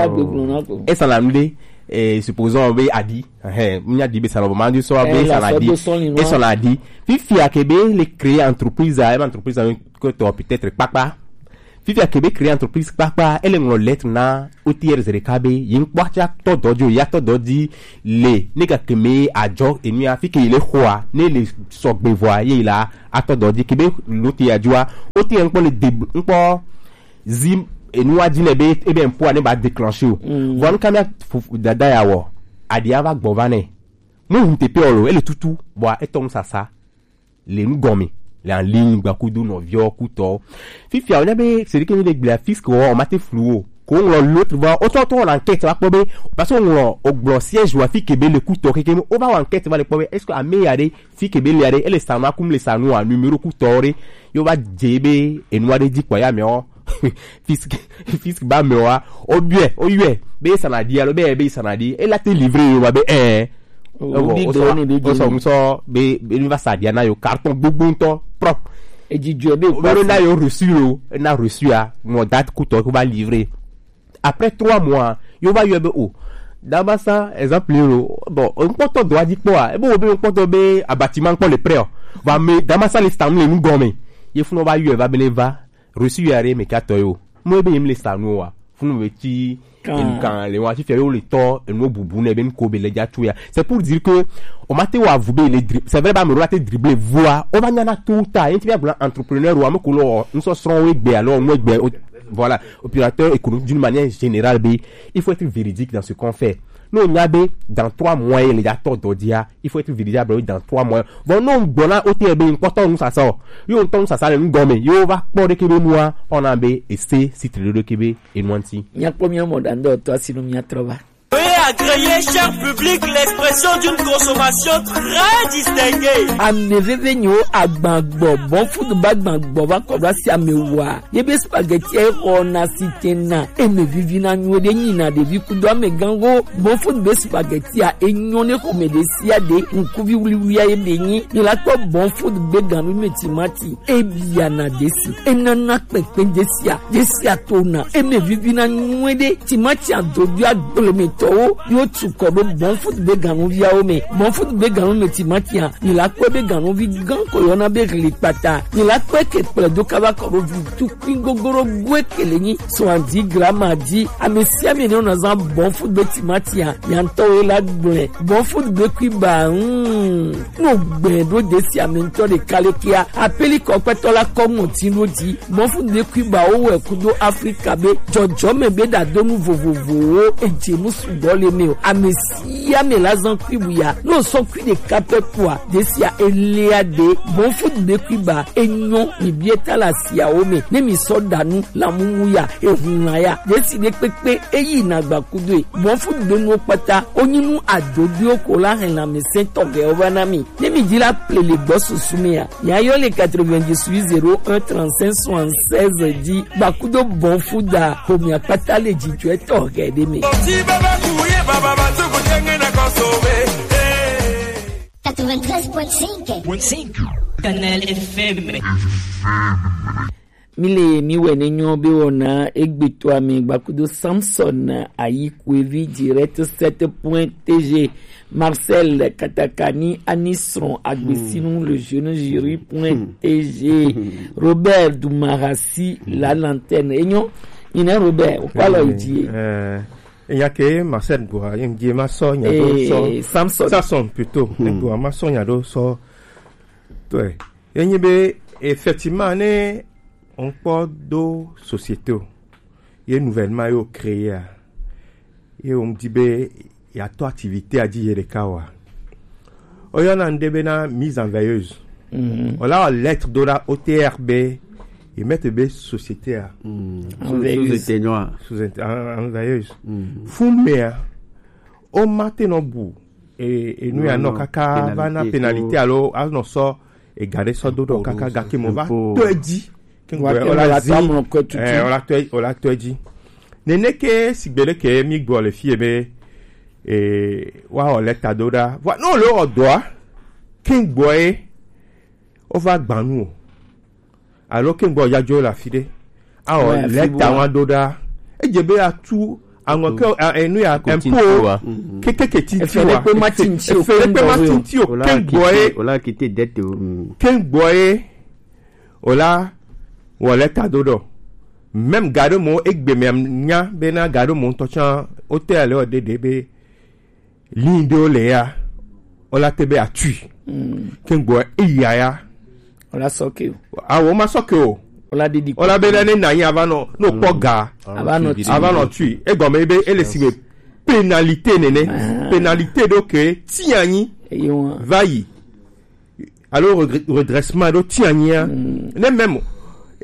e sana mbe e supposons be adi eh nya di be sana bon ma di so be sana di e sana di fifi a ke be le créer entreprise a entreprise a ko to peut-être papa. Fifi a ke be créer entreprise papa elle ngro lettre na O T R Zereka be yin kpɔ tsa tɔ dɔ di o ya tɔ dɔ di le ne ga keme adzɔ enu ya fi ke le xɔa ne le sɔgbe vɔa ye la atɔ dɔ di ke be lo te ya dzua o te nkpɔ le de nkpɔ zi enu wa di ne be ebe nkpɔ ne ba déclencher o vɔ nka mi dada ya wɔ adi ava gbɔ va ne mu hun te pe ɔlo ele tutu bɔ etɔ ŋu sasa le nu gɔme le en ligne gba kudo nɔviɔ kutɔ. Fifia wònya be c'est que mi le gblea fiske wɔ o ma te flu o ko ŋlɔ l'autre va o tɔ tɔ na enquête va kpɔ be parce que ŋlɔ o gblɔ siège wa fike be le kutɔ keke o va wa enquête va le kpɔ be est-ce que ame ya ɖe fike be le ya ɖe ele sanu akum le sanu a numéro kutɔ ɖe yo va dze be enua ɖe dzi kpɔ ya mɛ ɔ fiske fiske ba mɛ wa o biɛ o yɔɛ be sana di alo be be sana di ela te livrer yo va be ɛɛ. Ewo, o sɔ o sɔ ŋusɔ be be mi va sa dia na yo carton gbogbo ŋutɔ propre. Edzidzɔ be o be na yo reçu yo na reçu a mo date kutɔ ko va livrer. Après trois mois yo va yɔ be o damasa exemple yo bon nkpɔtɔ dɔ adi kpɔ a ebe wo be nkpɔtɔ be abatima nkpɔ le prɛ o va me damasa le stand le nu gɔme ye funu va yɔ va be ne va reçu ya re me ka tɔ yo mo ebe yim le stand wa funu be ti kan le wa ti fere o le tɔ enu bubu ne be nko be le ja tu ya c'est pour dire que o ma te wa vu be le dribble c'est vrai ba me ro te dribble voa o va nyana tout ta yen ti bia bla entrepreneur wa me ko lo nsɔ srɔn we gbe alors mo gbe voilà opérateur économique d'une manière générale be il faut être véridique dans ce qu'on fait nous on a be dans trois mois il y a tɔ dɔ dia il faut être véridique dans trois mois bon non gbɔna o te be nkpɔtɔ nu sasa o yo ŋutɔ nu sasa le nu gɔme yo va kpɔ ɖeke be nua ɔna be ese si tre ɖeke be enua ŋuti. Míakpɔ mía mɔ ɖa ŋdɔ tɔ asi nu míatrɔ va. Veuillez agréer, cher public, l'expression d'une consommation très distinguée. Ame veve nyo agbagbɔ bon food ba agbagbɔ va kɔ ɖo asi ame wa. Ye be spaghetti e xɔ na si te na eme vivi na nyuie ɖe nyi na ɖevi kudo ame gango bon food be spaghetti a enyo ne xɔ me ɖe sia ɖe ŋkuvi wuliwulia ye be nyi. Ni la kpɔ bon food be ganu me timati. Ebiana desi, enana kpekpe desia, desia tona, eme vivina nyuie ɖe, timati adodo agblemetɔwo, yo tukɔ ɖo bon food be ganuviawo me, bon food be ganu me timati a, ni la kpɔ be ganuvi gan ko yɔna be ɣli kpata, ni la kpɔ eke kplɛ do kaba kɔ ɖo vi tukui gogoro goe kele nyi, soixante-dix grammes a di, ame sia ame ne wona zan bon food be timati a, miantɔwo la gblɔe, bon food be kui ba, hmm. No gbɛ ɖo desi ame ŋutɔ ɖeka le kia apeli kɔkpɛtɔ la kɔ ŋɔti ɖo dzi mɔfu ɖekui ba wo wɛ kudo Afrika be jɔjɔme be ɖadonu vovovowo edze nu sugbɔ le me o ame sia ame la zan kui bu ya no sɔ kui ɖeka pɛ kua desia elia ɖe mɔfu ɖekui ba enyɔ mi bie ta la siawo me ne mi sɔ ɖanu la mumu ya ehun la ya desi ɖe kpekpe eyi na gba kudo e mɔfu ɖenuwo kpata wonyi nu adodoewo ko la hɛn lãmesẽ tɔxɛwo va na mi. Ne mi di la ple le gbɔ susu mea, mia yɔ le quatre-vingt-dix-huit zéro un trente-cinq soixante-seize di gbakudo bɔn fu da homia kpata le dzidzɔe tɔxɛ ɖe me. Quatre-vingt-treize point cinq. Canal F M. Mi le mi wɛ ne nyɔ be wɔna egbe to ame gbakudo Samson ayi kuevi direct sept point T G, Marcel Katakani Anisron Agbesinu le jeune jury point T G, Robert Dumarasi la lanterne. Enyo, ina Robert, o kwa lo idie. Eh, eya ke Marcel Goa, yem die ma so nya do so. Eh, Samson. Samson plutôt. Goa ma so nya do so. Toi. Ye nyi be, effectivement, ne on kpɔ do société o, ye nouvellement yo créé a, ye on dit be ya to activité a di ye ɖeka wa. O yɔ na nde be na mise en veilleuse. Mhm. O la o lettre do la O T R be, ye mettre be société a. Mm. Sous, sous éteigneur. Sous éte-, en, en veilleuse. Mm. Fun me a, o ma te nɔ bu e, e nu ya nɔ kaka va na pénalité alo anɔ sɔ ega ɖe sɔ do ɖɔ kaka gake mo va tɔ edzi. Kengbe o la zi, eh, o la tɔ, o la tɔ edzi. Nene ke sigbe ɖe ke mi gbɔ le fie be, eh, wa o lɛ ta do ɖa. Vɔ, no le o dɔa, kengbe e, o va gbanu o. Alo kengbe o ya jo la fi ɖe. Awɔ, ouais, lɛ ta wa do ɖa. Edze be atu aŋɔ ke, a, enu ya, impôt. Kekeke titi wa. Efe ɖe kpe ma tinti o, efe ɖe kpe ma tinti o, kengbe e. O la kite dette o. Mm. Kengbe e. O la wɔ lɛ ta do ɖɔ. Même ga ɖe mo egbe me nya be na ga ɖe mo ŋutɔ tsã, o te ale o ɖeɖe be lin ɖewo le ya, o la te be atui. Mm. Kengbe eya ya. O la sɔ ke o. Awo ma sɔ ke o. O la ɖiɖi. O la be la ne na nyi ava nɔ, no kpɔ ga. Ava nɔ tui. Ava nɔ tui. Egɔme be ele si be pénalité nene. Ah. Pénalité ɖo ke ti anyi. Eyo. Va yi. Alo redre-, redressement ɖo ti anyi ya. Mm. Ne même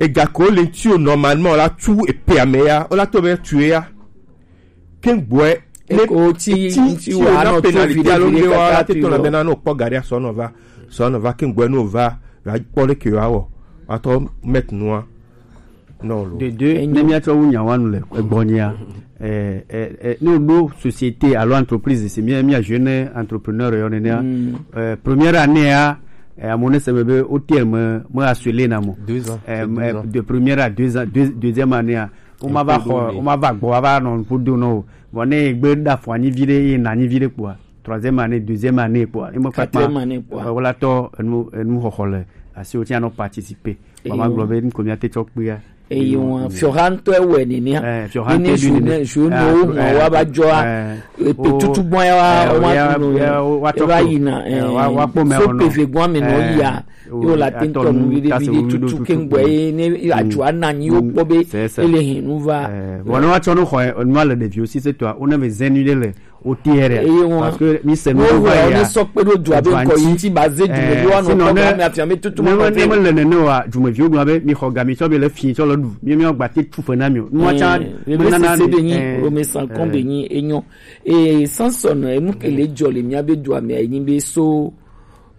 ega ko le ti o normalement o la tu epe ame ya, o la to be tu ya. Kengbe ne eko ti, ti, ti wa na pénalité alo nde wa la te tɔna be na no kpɔ gari asɔ nɔ va, sɔ nɔ va kengbe no va, la kpɔ le ke wa wɔ. Wa tɔ mettre nua. Non, lo. De deux, ne mia tsɔ wu nya wanu le egbɔnyia. Eh, eh, eh, ne o do société alo entreprise, c'est bien, mia jeune entrepreneur yo nene. Mm. Eh, première année a, eh, amone se me be O T R me, me assurer na mo. Deux ans. Eh, de première à deux ans, deux, deuxième année a. O ma va xɔ, o ma va gbɔ, a va nɔ ƒo do nɔ o. Vɔ ne egbe ɖa fɔ anyi vi ɖe, ye na anyi vi ɖe kpɔa, troisième année, deuxième année kpɔa, e me kpata. Quatrième année kpɔa. Wala tɔ enu, enu xɔxɔ le asi o ti anɔ participer. Vɔ ma gblɔ be nu ko mia te tsɔ kpea. Eye wa fiɔha ŋutɔ ewɔe nenea. Eh, fiɔha ŋutɔ ewɔe nenea. Jeune, jeune wo mɔ wa va dzɔa. Epe tutu gbɔn ya wa, wa tu no ya, wa tsɔ eva yina, eh, wa, wa kpɔ mɛ so ɔnɔ. Pe ve gbɔn me nɔ ya. Yo la te ŋutɔ nu viɖe viɖe tutu kengbe ye ne adzua na nyi wo kpɔ be ele hɛn nu va. Vɔ ne wa tsɔ nu xɔ enu ale ɖeviwo si se tɔa, wo ne me zɛn nu ɖe le O T R. Eye ŋua. Parce que mi se nu va ya. Ne sɔ kpe ɖo dua be ŋkɔ yi ŋti ba ze dumeviwo anɔ kpɔ ga mi afia mi tutu ma kɔ ne me le nene wa, dumeviwo gblɔ be mi xɔ ga mi tsɔ be le fi tsɔ le ɖu. Mi, mi gba te tu fe na mi o. Nua tsa. Bebe nana sese be nyi, eh, Rome sankɔn be nyi enyo. E Samson, enu ke le dzɔ le mia be dua me anyi be so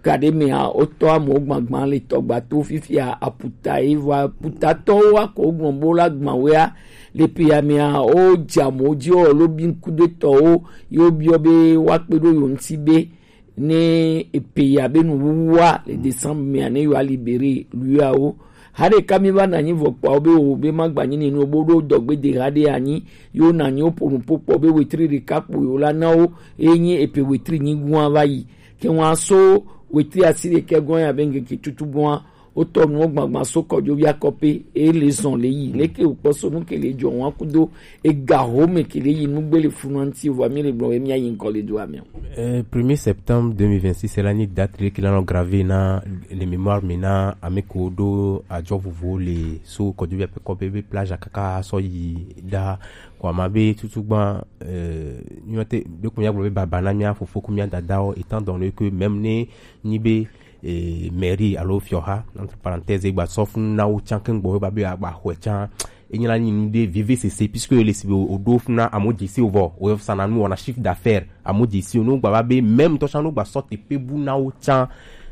ga ɖe mea, wotɔ amewo gbagba le tɔgba to fifia aputa ye vɔ aputatɔwo wa ko gblɔ bo la gbawea le pe ya mea, wo dze amewo dzi wo lo bi ŋkudetɔwo ye wo biɔ be wa kpe ɖo yo ŋti be ne epe ya be nuwuwua le décembre mea ne yo a libérer lui awo. Ha ɖeka mi va na anyi vɔ kpɔa wo be wo be ma gba nyi ni nu bo ɖo dɔgbe de ha ɖe anyi yo na anyi wo po nu po kpɔ be wetri ɖeka kpo yo la na wo ye nyi epe wetri nyi gua va yi. Ke ŋua so wetri asi ɖekɛ gɔn ya be ŋkeke tutu gɔn a, wotɔ nuwo gbagba so kɔdzo via kɔpe, e le zɔn le yi. Leke wokpɔ so nu ke le dzɔ ŋua kudo ega ho me ke le yi nugbe le funu ŋti, vɔ mi le gblɔ be mia yi ŋkɔ le dua me o. Eh, premier septembre deux mille vingt-six, c'est la ni date le ke la nɔ gravé na le mémoire me na ame ko do adzɔ vovo le so kɔdzo via pe kɔpe be plage kaka sɔ yi da. Kɔ ama be tutu gba, eh, nyɔ te be ko mia gblɔ be baba na mia fofo ko mia dadawo, étant donné que même ne nyi be, eh, mairie alo fiɔha, entre parenthèses, gba sɔ funu na wo tsan keŋ gbɔ, ba be agba xɔe tsan. Enyi la nyi nu ɖe vivi sese, puisque le si be o ɖo funu na amo dzi si o vɔ, o yɔ sana nu wɔna chiffre d'affaires, amo dzi si o no gba ba be même tɔ tsan no gba sɔ te pe bu na wo tsan.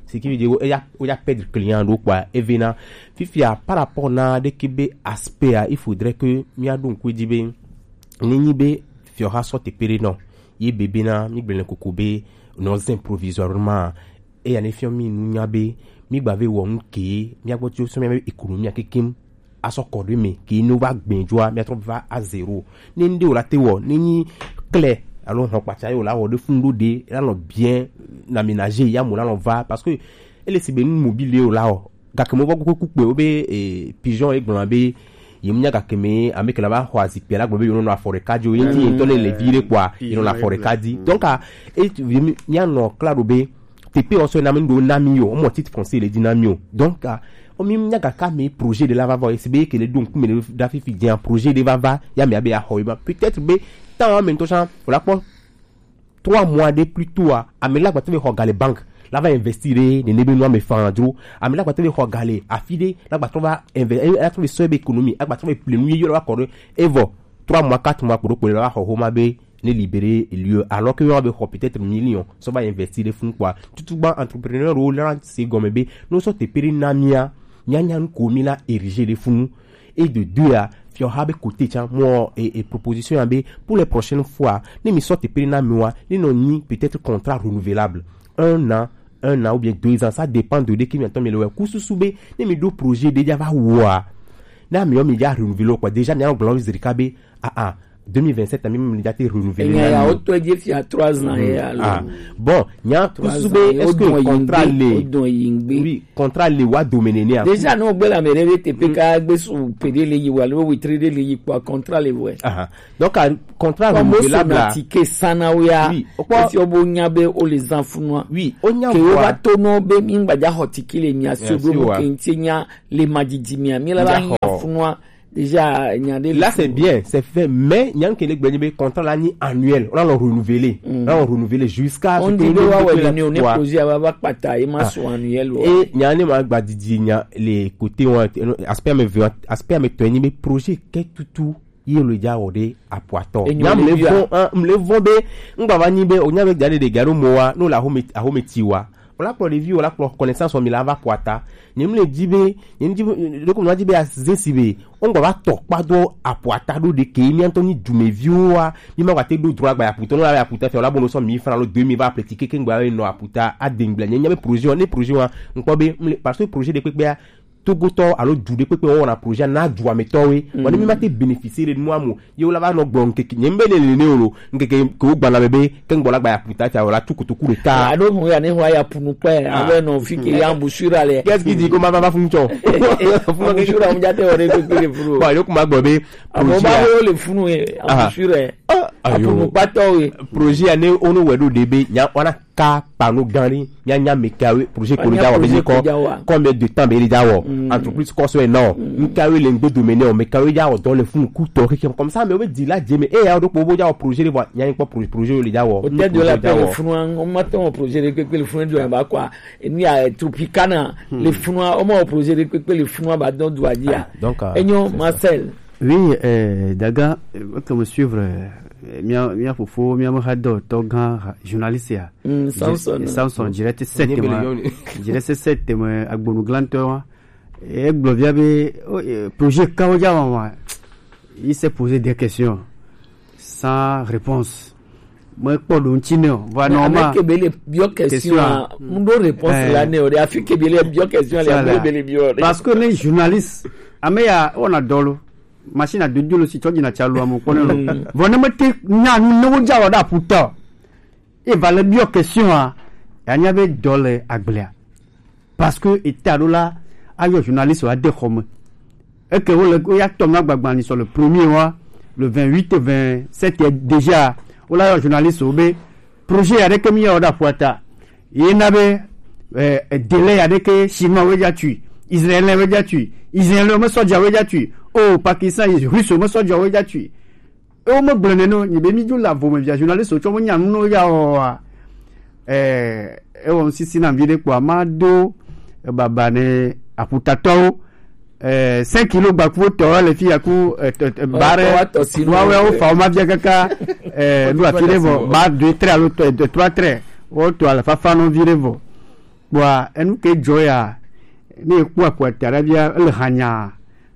Ce qui veut dire, o ya, o ya perdre client ɖo kpɔa, eve na. Fifia, par rapport na ɖe ke be aspect a, il faudrait que mia ɖo ŋku dzi be, ne nyi be fiɔha sɔ te pe ɖe nɔ, ye bebe na, mi gblẽ koko be, nɔ zin provisoirement, Eya ne fiɔ mi nu nya be mi gba ve wɔ nu ke mi agbɔ tso sɔ mi be économie kekem asɔ kɔ ɖe me ke ne va gbɛn dzoa mi atrɔ va à zéro. Ne ŋɖe o la te wɔ ne nyi klɛ alo hɔn kpatsa ye o la wɔ ɖe funu ɖo ɖe la nɔ bien na ménager ya mo la nɔ va parce que ele si be nu mobile ye o la wɔ gake mo va kuku kpe wo be eh, pigeon ye gblɔ be ye mu nya gake me ame ke la va xɔ azikpe la gblɔ be ye nɔ afɔ ɖeka dzi o ye ti ye ŋutɔ ne le vi ɖe kpɔa ye nɔ afɔ ɖeka dzi donc a e mi anɔ kla ɖo be tepe ɔsɔ na mi ɖo na mi o mɔ titre foncier le di na mi o donc a o mi nya gaka mi projet de la va va esi be ke le do ŋkume ɖe da fifi dzi projet de va va ya mi abe axɔ yi ma peut-être be temps mi ŋutɔ sa o la kpɔ trois mois de plus tôt a ame la gba te be xɔ ga le banque la va investir ɖe nene be nua me fan dro ame la gba te be xɔ ga le afi ɖe la gba trɔ va inve la trɔ be sɔ be économie a gba trɔ be ple nu ye yɔ la va kɔ ɖe evɔ trois mois quatre mois kpo ɖo kpo le la va xɔ xoma be ne libérer lieu alors que yɔ be xɔ peut-être million sɔ va investir ɖe fun quoi tutugba entrepreneur wo la se gɔme be no sɔ tepe ɖe na mia mia nya nu ko mi la ériger ɖe funu et de deux a fiɔ ha be côté tsa mɔ et, et proposition ya be pour les prochaines fois ne mi sɔ tepe na mi wa ne nɔ nyi peut-être contrat renouvelable un an un an ou bien deux ans ça dépend de de ki mi atɔ mi le wɛ kususu be ne mi do projet de ja va wa na mi yɔ mi ja renouveler quoi déjà mi a gblɔ zirika be ah ah deux mille vingt-sept mi mi ja te renouveler enya na ya mi o to je fi trois ans ye alo ah bon nya kususu be est-ce que contrat le oui contrat le wa domene ne a déjà no gbe la mere be te pe ka gbe su pede le yi wa le witri de le yi kwa contrat le we ah donc a contrat renouvelable la tike sana o ya oui o kpɔ esi o bo nya be o le zan funua oui o nya ke o ba to no be mi ngba ja hɔ tike le mi asi o do mo ke nti nya le madidi mi a mi la ba nya funua déjà nya de là c'est bien c'est fait mais nya ke le gbe ni be contrat la ni annuel on a renouvelé on a renouvelé jusqu'à on dit be wa we ni o ne projet wa ba pata e ma so annuel o e nya ne ma gba didi nya le côté on aspect me aspect me to ni be projet ke tutu ye le ja wɔ ɖe apuatɔ. Nya mle vɔn mle vɔn be ŋgba va nyi be o nya be gade de gado mo wa no la home ahome ti wa. O la kplɔ ɖevi o la kplɔ connaissance mi la va puata. Nye mle di be nye di ɖeko na di be azesi be o ŋgba va tɔ kpa do apuata ɖo ɖe ke mi ŋutɔ nyi dumeviwo wa mi ma gba te ɖo dro agba aputa no la aputa fɛ o la bo no sɔ mi fana lo deux mille va apple ti keke ŋgba no aputa adengble nye nya be projet wa ne projet wa ŋkpɔ be mle parce que projet ɖe kpekpea togotɔ alo du ɖe kpekpe wɔwɔna projet na du ametɔwe mm. Wɔne mi ma te bénéficier ɖe nua mo ye wo la va nɔ gblɔ ŋkeke nye mbe ne nene o lo ŋkeke ke wo gbana me be ke ŋgbɔ la gba ya puta ta o la tu kotoku ɖeka ado mu ya ne ho ya punu kpɛ ah. Alo no fi ke ya mbusura le qu'est-ce qui dit ko ma va fun cho mbusura mu ja te o de kpekpe le funu bon yo kuma gbɔ be amo ba wo le funu e mbusura e apunu patɔ e projet ya ne ono wedo de be nya wana ka pano gan ni nya nya mekawe projet ko ja wa be ko combien de temps be ja wa entreprise ko so e non mekawe le ngbe domaine o mekawe ja o don le fun ku to keke comme ça mais o be di la je me e ya o do po bo ja o projet le vo nya ko projet le ja o peut-être de la paix le fun o ma ton projet le pe le fun do ba quoi et ni a tropicana le fun o ma projet le pe le fun ba don do adia donc enyo Marcel Oui, euh, Daga, euh, que me suivre, euh, mia mia fofo mia me hado to gan journaliste ya. Mm, Samson. Samson direct sept mois. Direct sept mois agbonu glanto. Et Glovia be oh, euh, projet kawo ja wa. Il s'est posé des questions sans réponse. Mekpɔ ɖo ŋuti nɛ o vɔ nɔ ma ame ke be le biɔ question a ŋɖo réponse la nɛ o de afi ke be le biɔ question le ame be le biɔ de parce que ne journaliste ame ya wɔna dɔ lo machine a dodo lo si tsɔ dzina tsa lo ame kpɔ ne lo vɔ ne mete nya nu ne wo dza wɔ ɖe aƒuta o e va le biɔ question a ya nya be dɔ le agblea parce que eta ɖo la ayɔ journaliste wa de xɔ me eke wo le wo ya tɔ ma gbagba ni sɔ le premier wa le vingt-huit vingt-sept déjà wo la yɔ journaliste wo be projet ya ɖeke mi ya wo da ƒua ta ye na be eh, délai ya ɖeke chinois wo ja tui israélien wo ja tui israélien me sɔdza wo ja tui o pakistan russe me sɔdza wo ja tui e wo me gblɔ ne no nyi be mi dzo la vo me via journaliste wo tsɔ mo nya nu no ya o wa eh e wo sisi na vi ɖe kpɔ ma do baba ne aƒutatɔwo eh, cinq kilo gbakuwo tɔ le fi ya ku eh, eh, bare wawe wo fa wo ma bia kaka eh, nu afi ɖe vɔ ba deux très alo eh, trois très wo to ale fafa no vi ɖe vɔ kpɔa enu ke dzɔ ya ne ekpɔ aƒuata ɖe bia ele hanya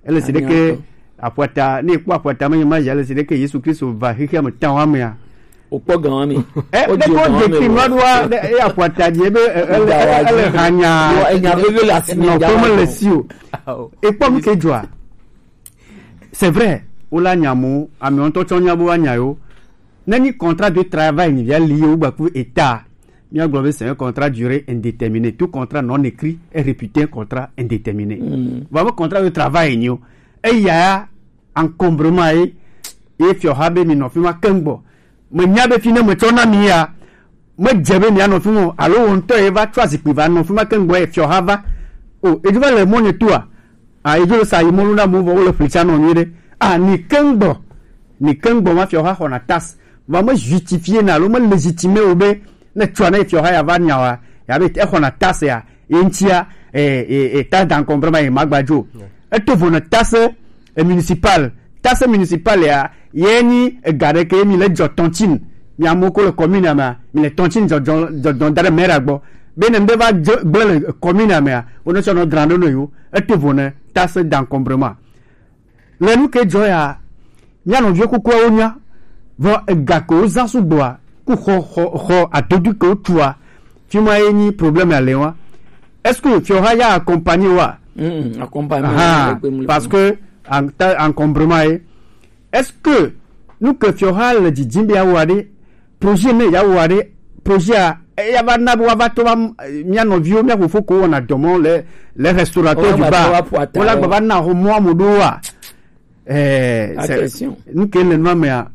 ele si ɖeke aƒuata ne ekpɔ aƒuata me ma ya ele si ɖeke Yesu Kristo va xexea me ta wa mea Wokpɔ gan wa mi. Eh, ne ko de kri ma do wa, e ya kwata di ebe ele hanya. Enya veve le asi mi. No ko me le si o. E kpɔ mi ke jua. C'est vrai, o la nya mo, ami on to cho nya bo wa nya yo. Na ni contrat de travail ni via lié ou ba ku état. Mi a globe c'est un contrat durée indéterminée. Tout contrat non écrit est réputé un contrat indéterminé. Mm. Vraiment contrat de travail ni o. E ya encombrement ye, ye fiɔha be mi nɔ fi ma keŋ gbɔ. Me nya be fi ne me tsɔ na mi ya, me dze be mi anɔ fi mo, alo wo ŋutɔ ye va tsɔ azikpui va nɔ fi ma keŋ gbɔ ye fiɔha va. O, edzo va le mɔ nye toa. A, edzo le sa yi mɔlu na mo vɔ wo le fli tsa nɔ nyuie ɖe. A, ni keŋ gbɔ, ni keŋ gbɔ ma fiɔha xɔna tas. Va me justifier na alo me légitimer wo be ne tsɔa ne fiɔha ya va nya wa, ya be exɔna tas ya, ye ŋutia, e, e, e, taxe d'encombrement ye magbadzo. Eto vo ne taxe, e, municipal. Taxe municipal ya, ye nyi ega ɖe ke mi le dzɔ tɔntsin. Mi amewo ko le commune mea, mi le tɔntsin dzɔdzɔ dzɔdzɔ da ɖe maire gbɔ. Be ne ŋɖe va dze gblẽ le commune mea, wo ne tsɔ nɔ dra ɖo ne yo. Eto vo ne taxe d'encombrement. Le nu ke dzɔ ya, mía nɔviwo kukuawo nya. Vɔ ega ke wozã sugbɔa, ku xɔ xɔ xɔ adodu ke wotua, fi ma ye nyi problème ya le wa. Est-ce que fiɔha ya accompagner wa? Mm, accompagner Ah, le pe mu le parce pe. Que en ta encombrement ye. Est-ce que nu ke fiɔha le dzidzim be awɔa ɖe, projet ne ya wɔa ɖe, projet a eya va na be woava to va m- mía nɔviwo, mía fofo ko wɔna dɔ mɔ le le restaurateur Wola du gba bar. va ƒo ata Wola wo. Gba va na ho mɔ amu ɖo wa. Eh, c'est- Attention. Nu ke le nua mea,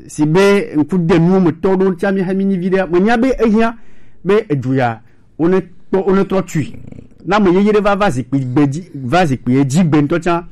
si be ŋku de nuwo me tɔ ɖo tia mi hemi nyi vi ɖe. Me nya be ehia be edu ya, wo ne kpɔ, wo ne trɔ tui. Na me yeye ɖe va va zikpui gbe dzi, va zikpui dzi gbe ŋutɔ tsã.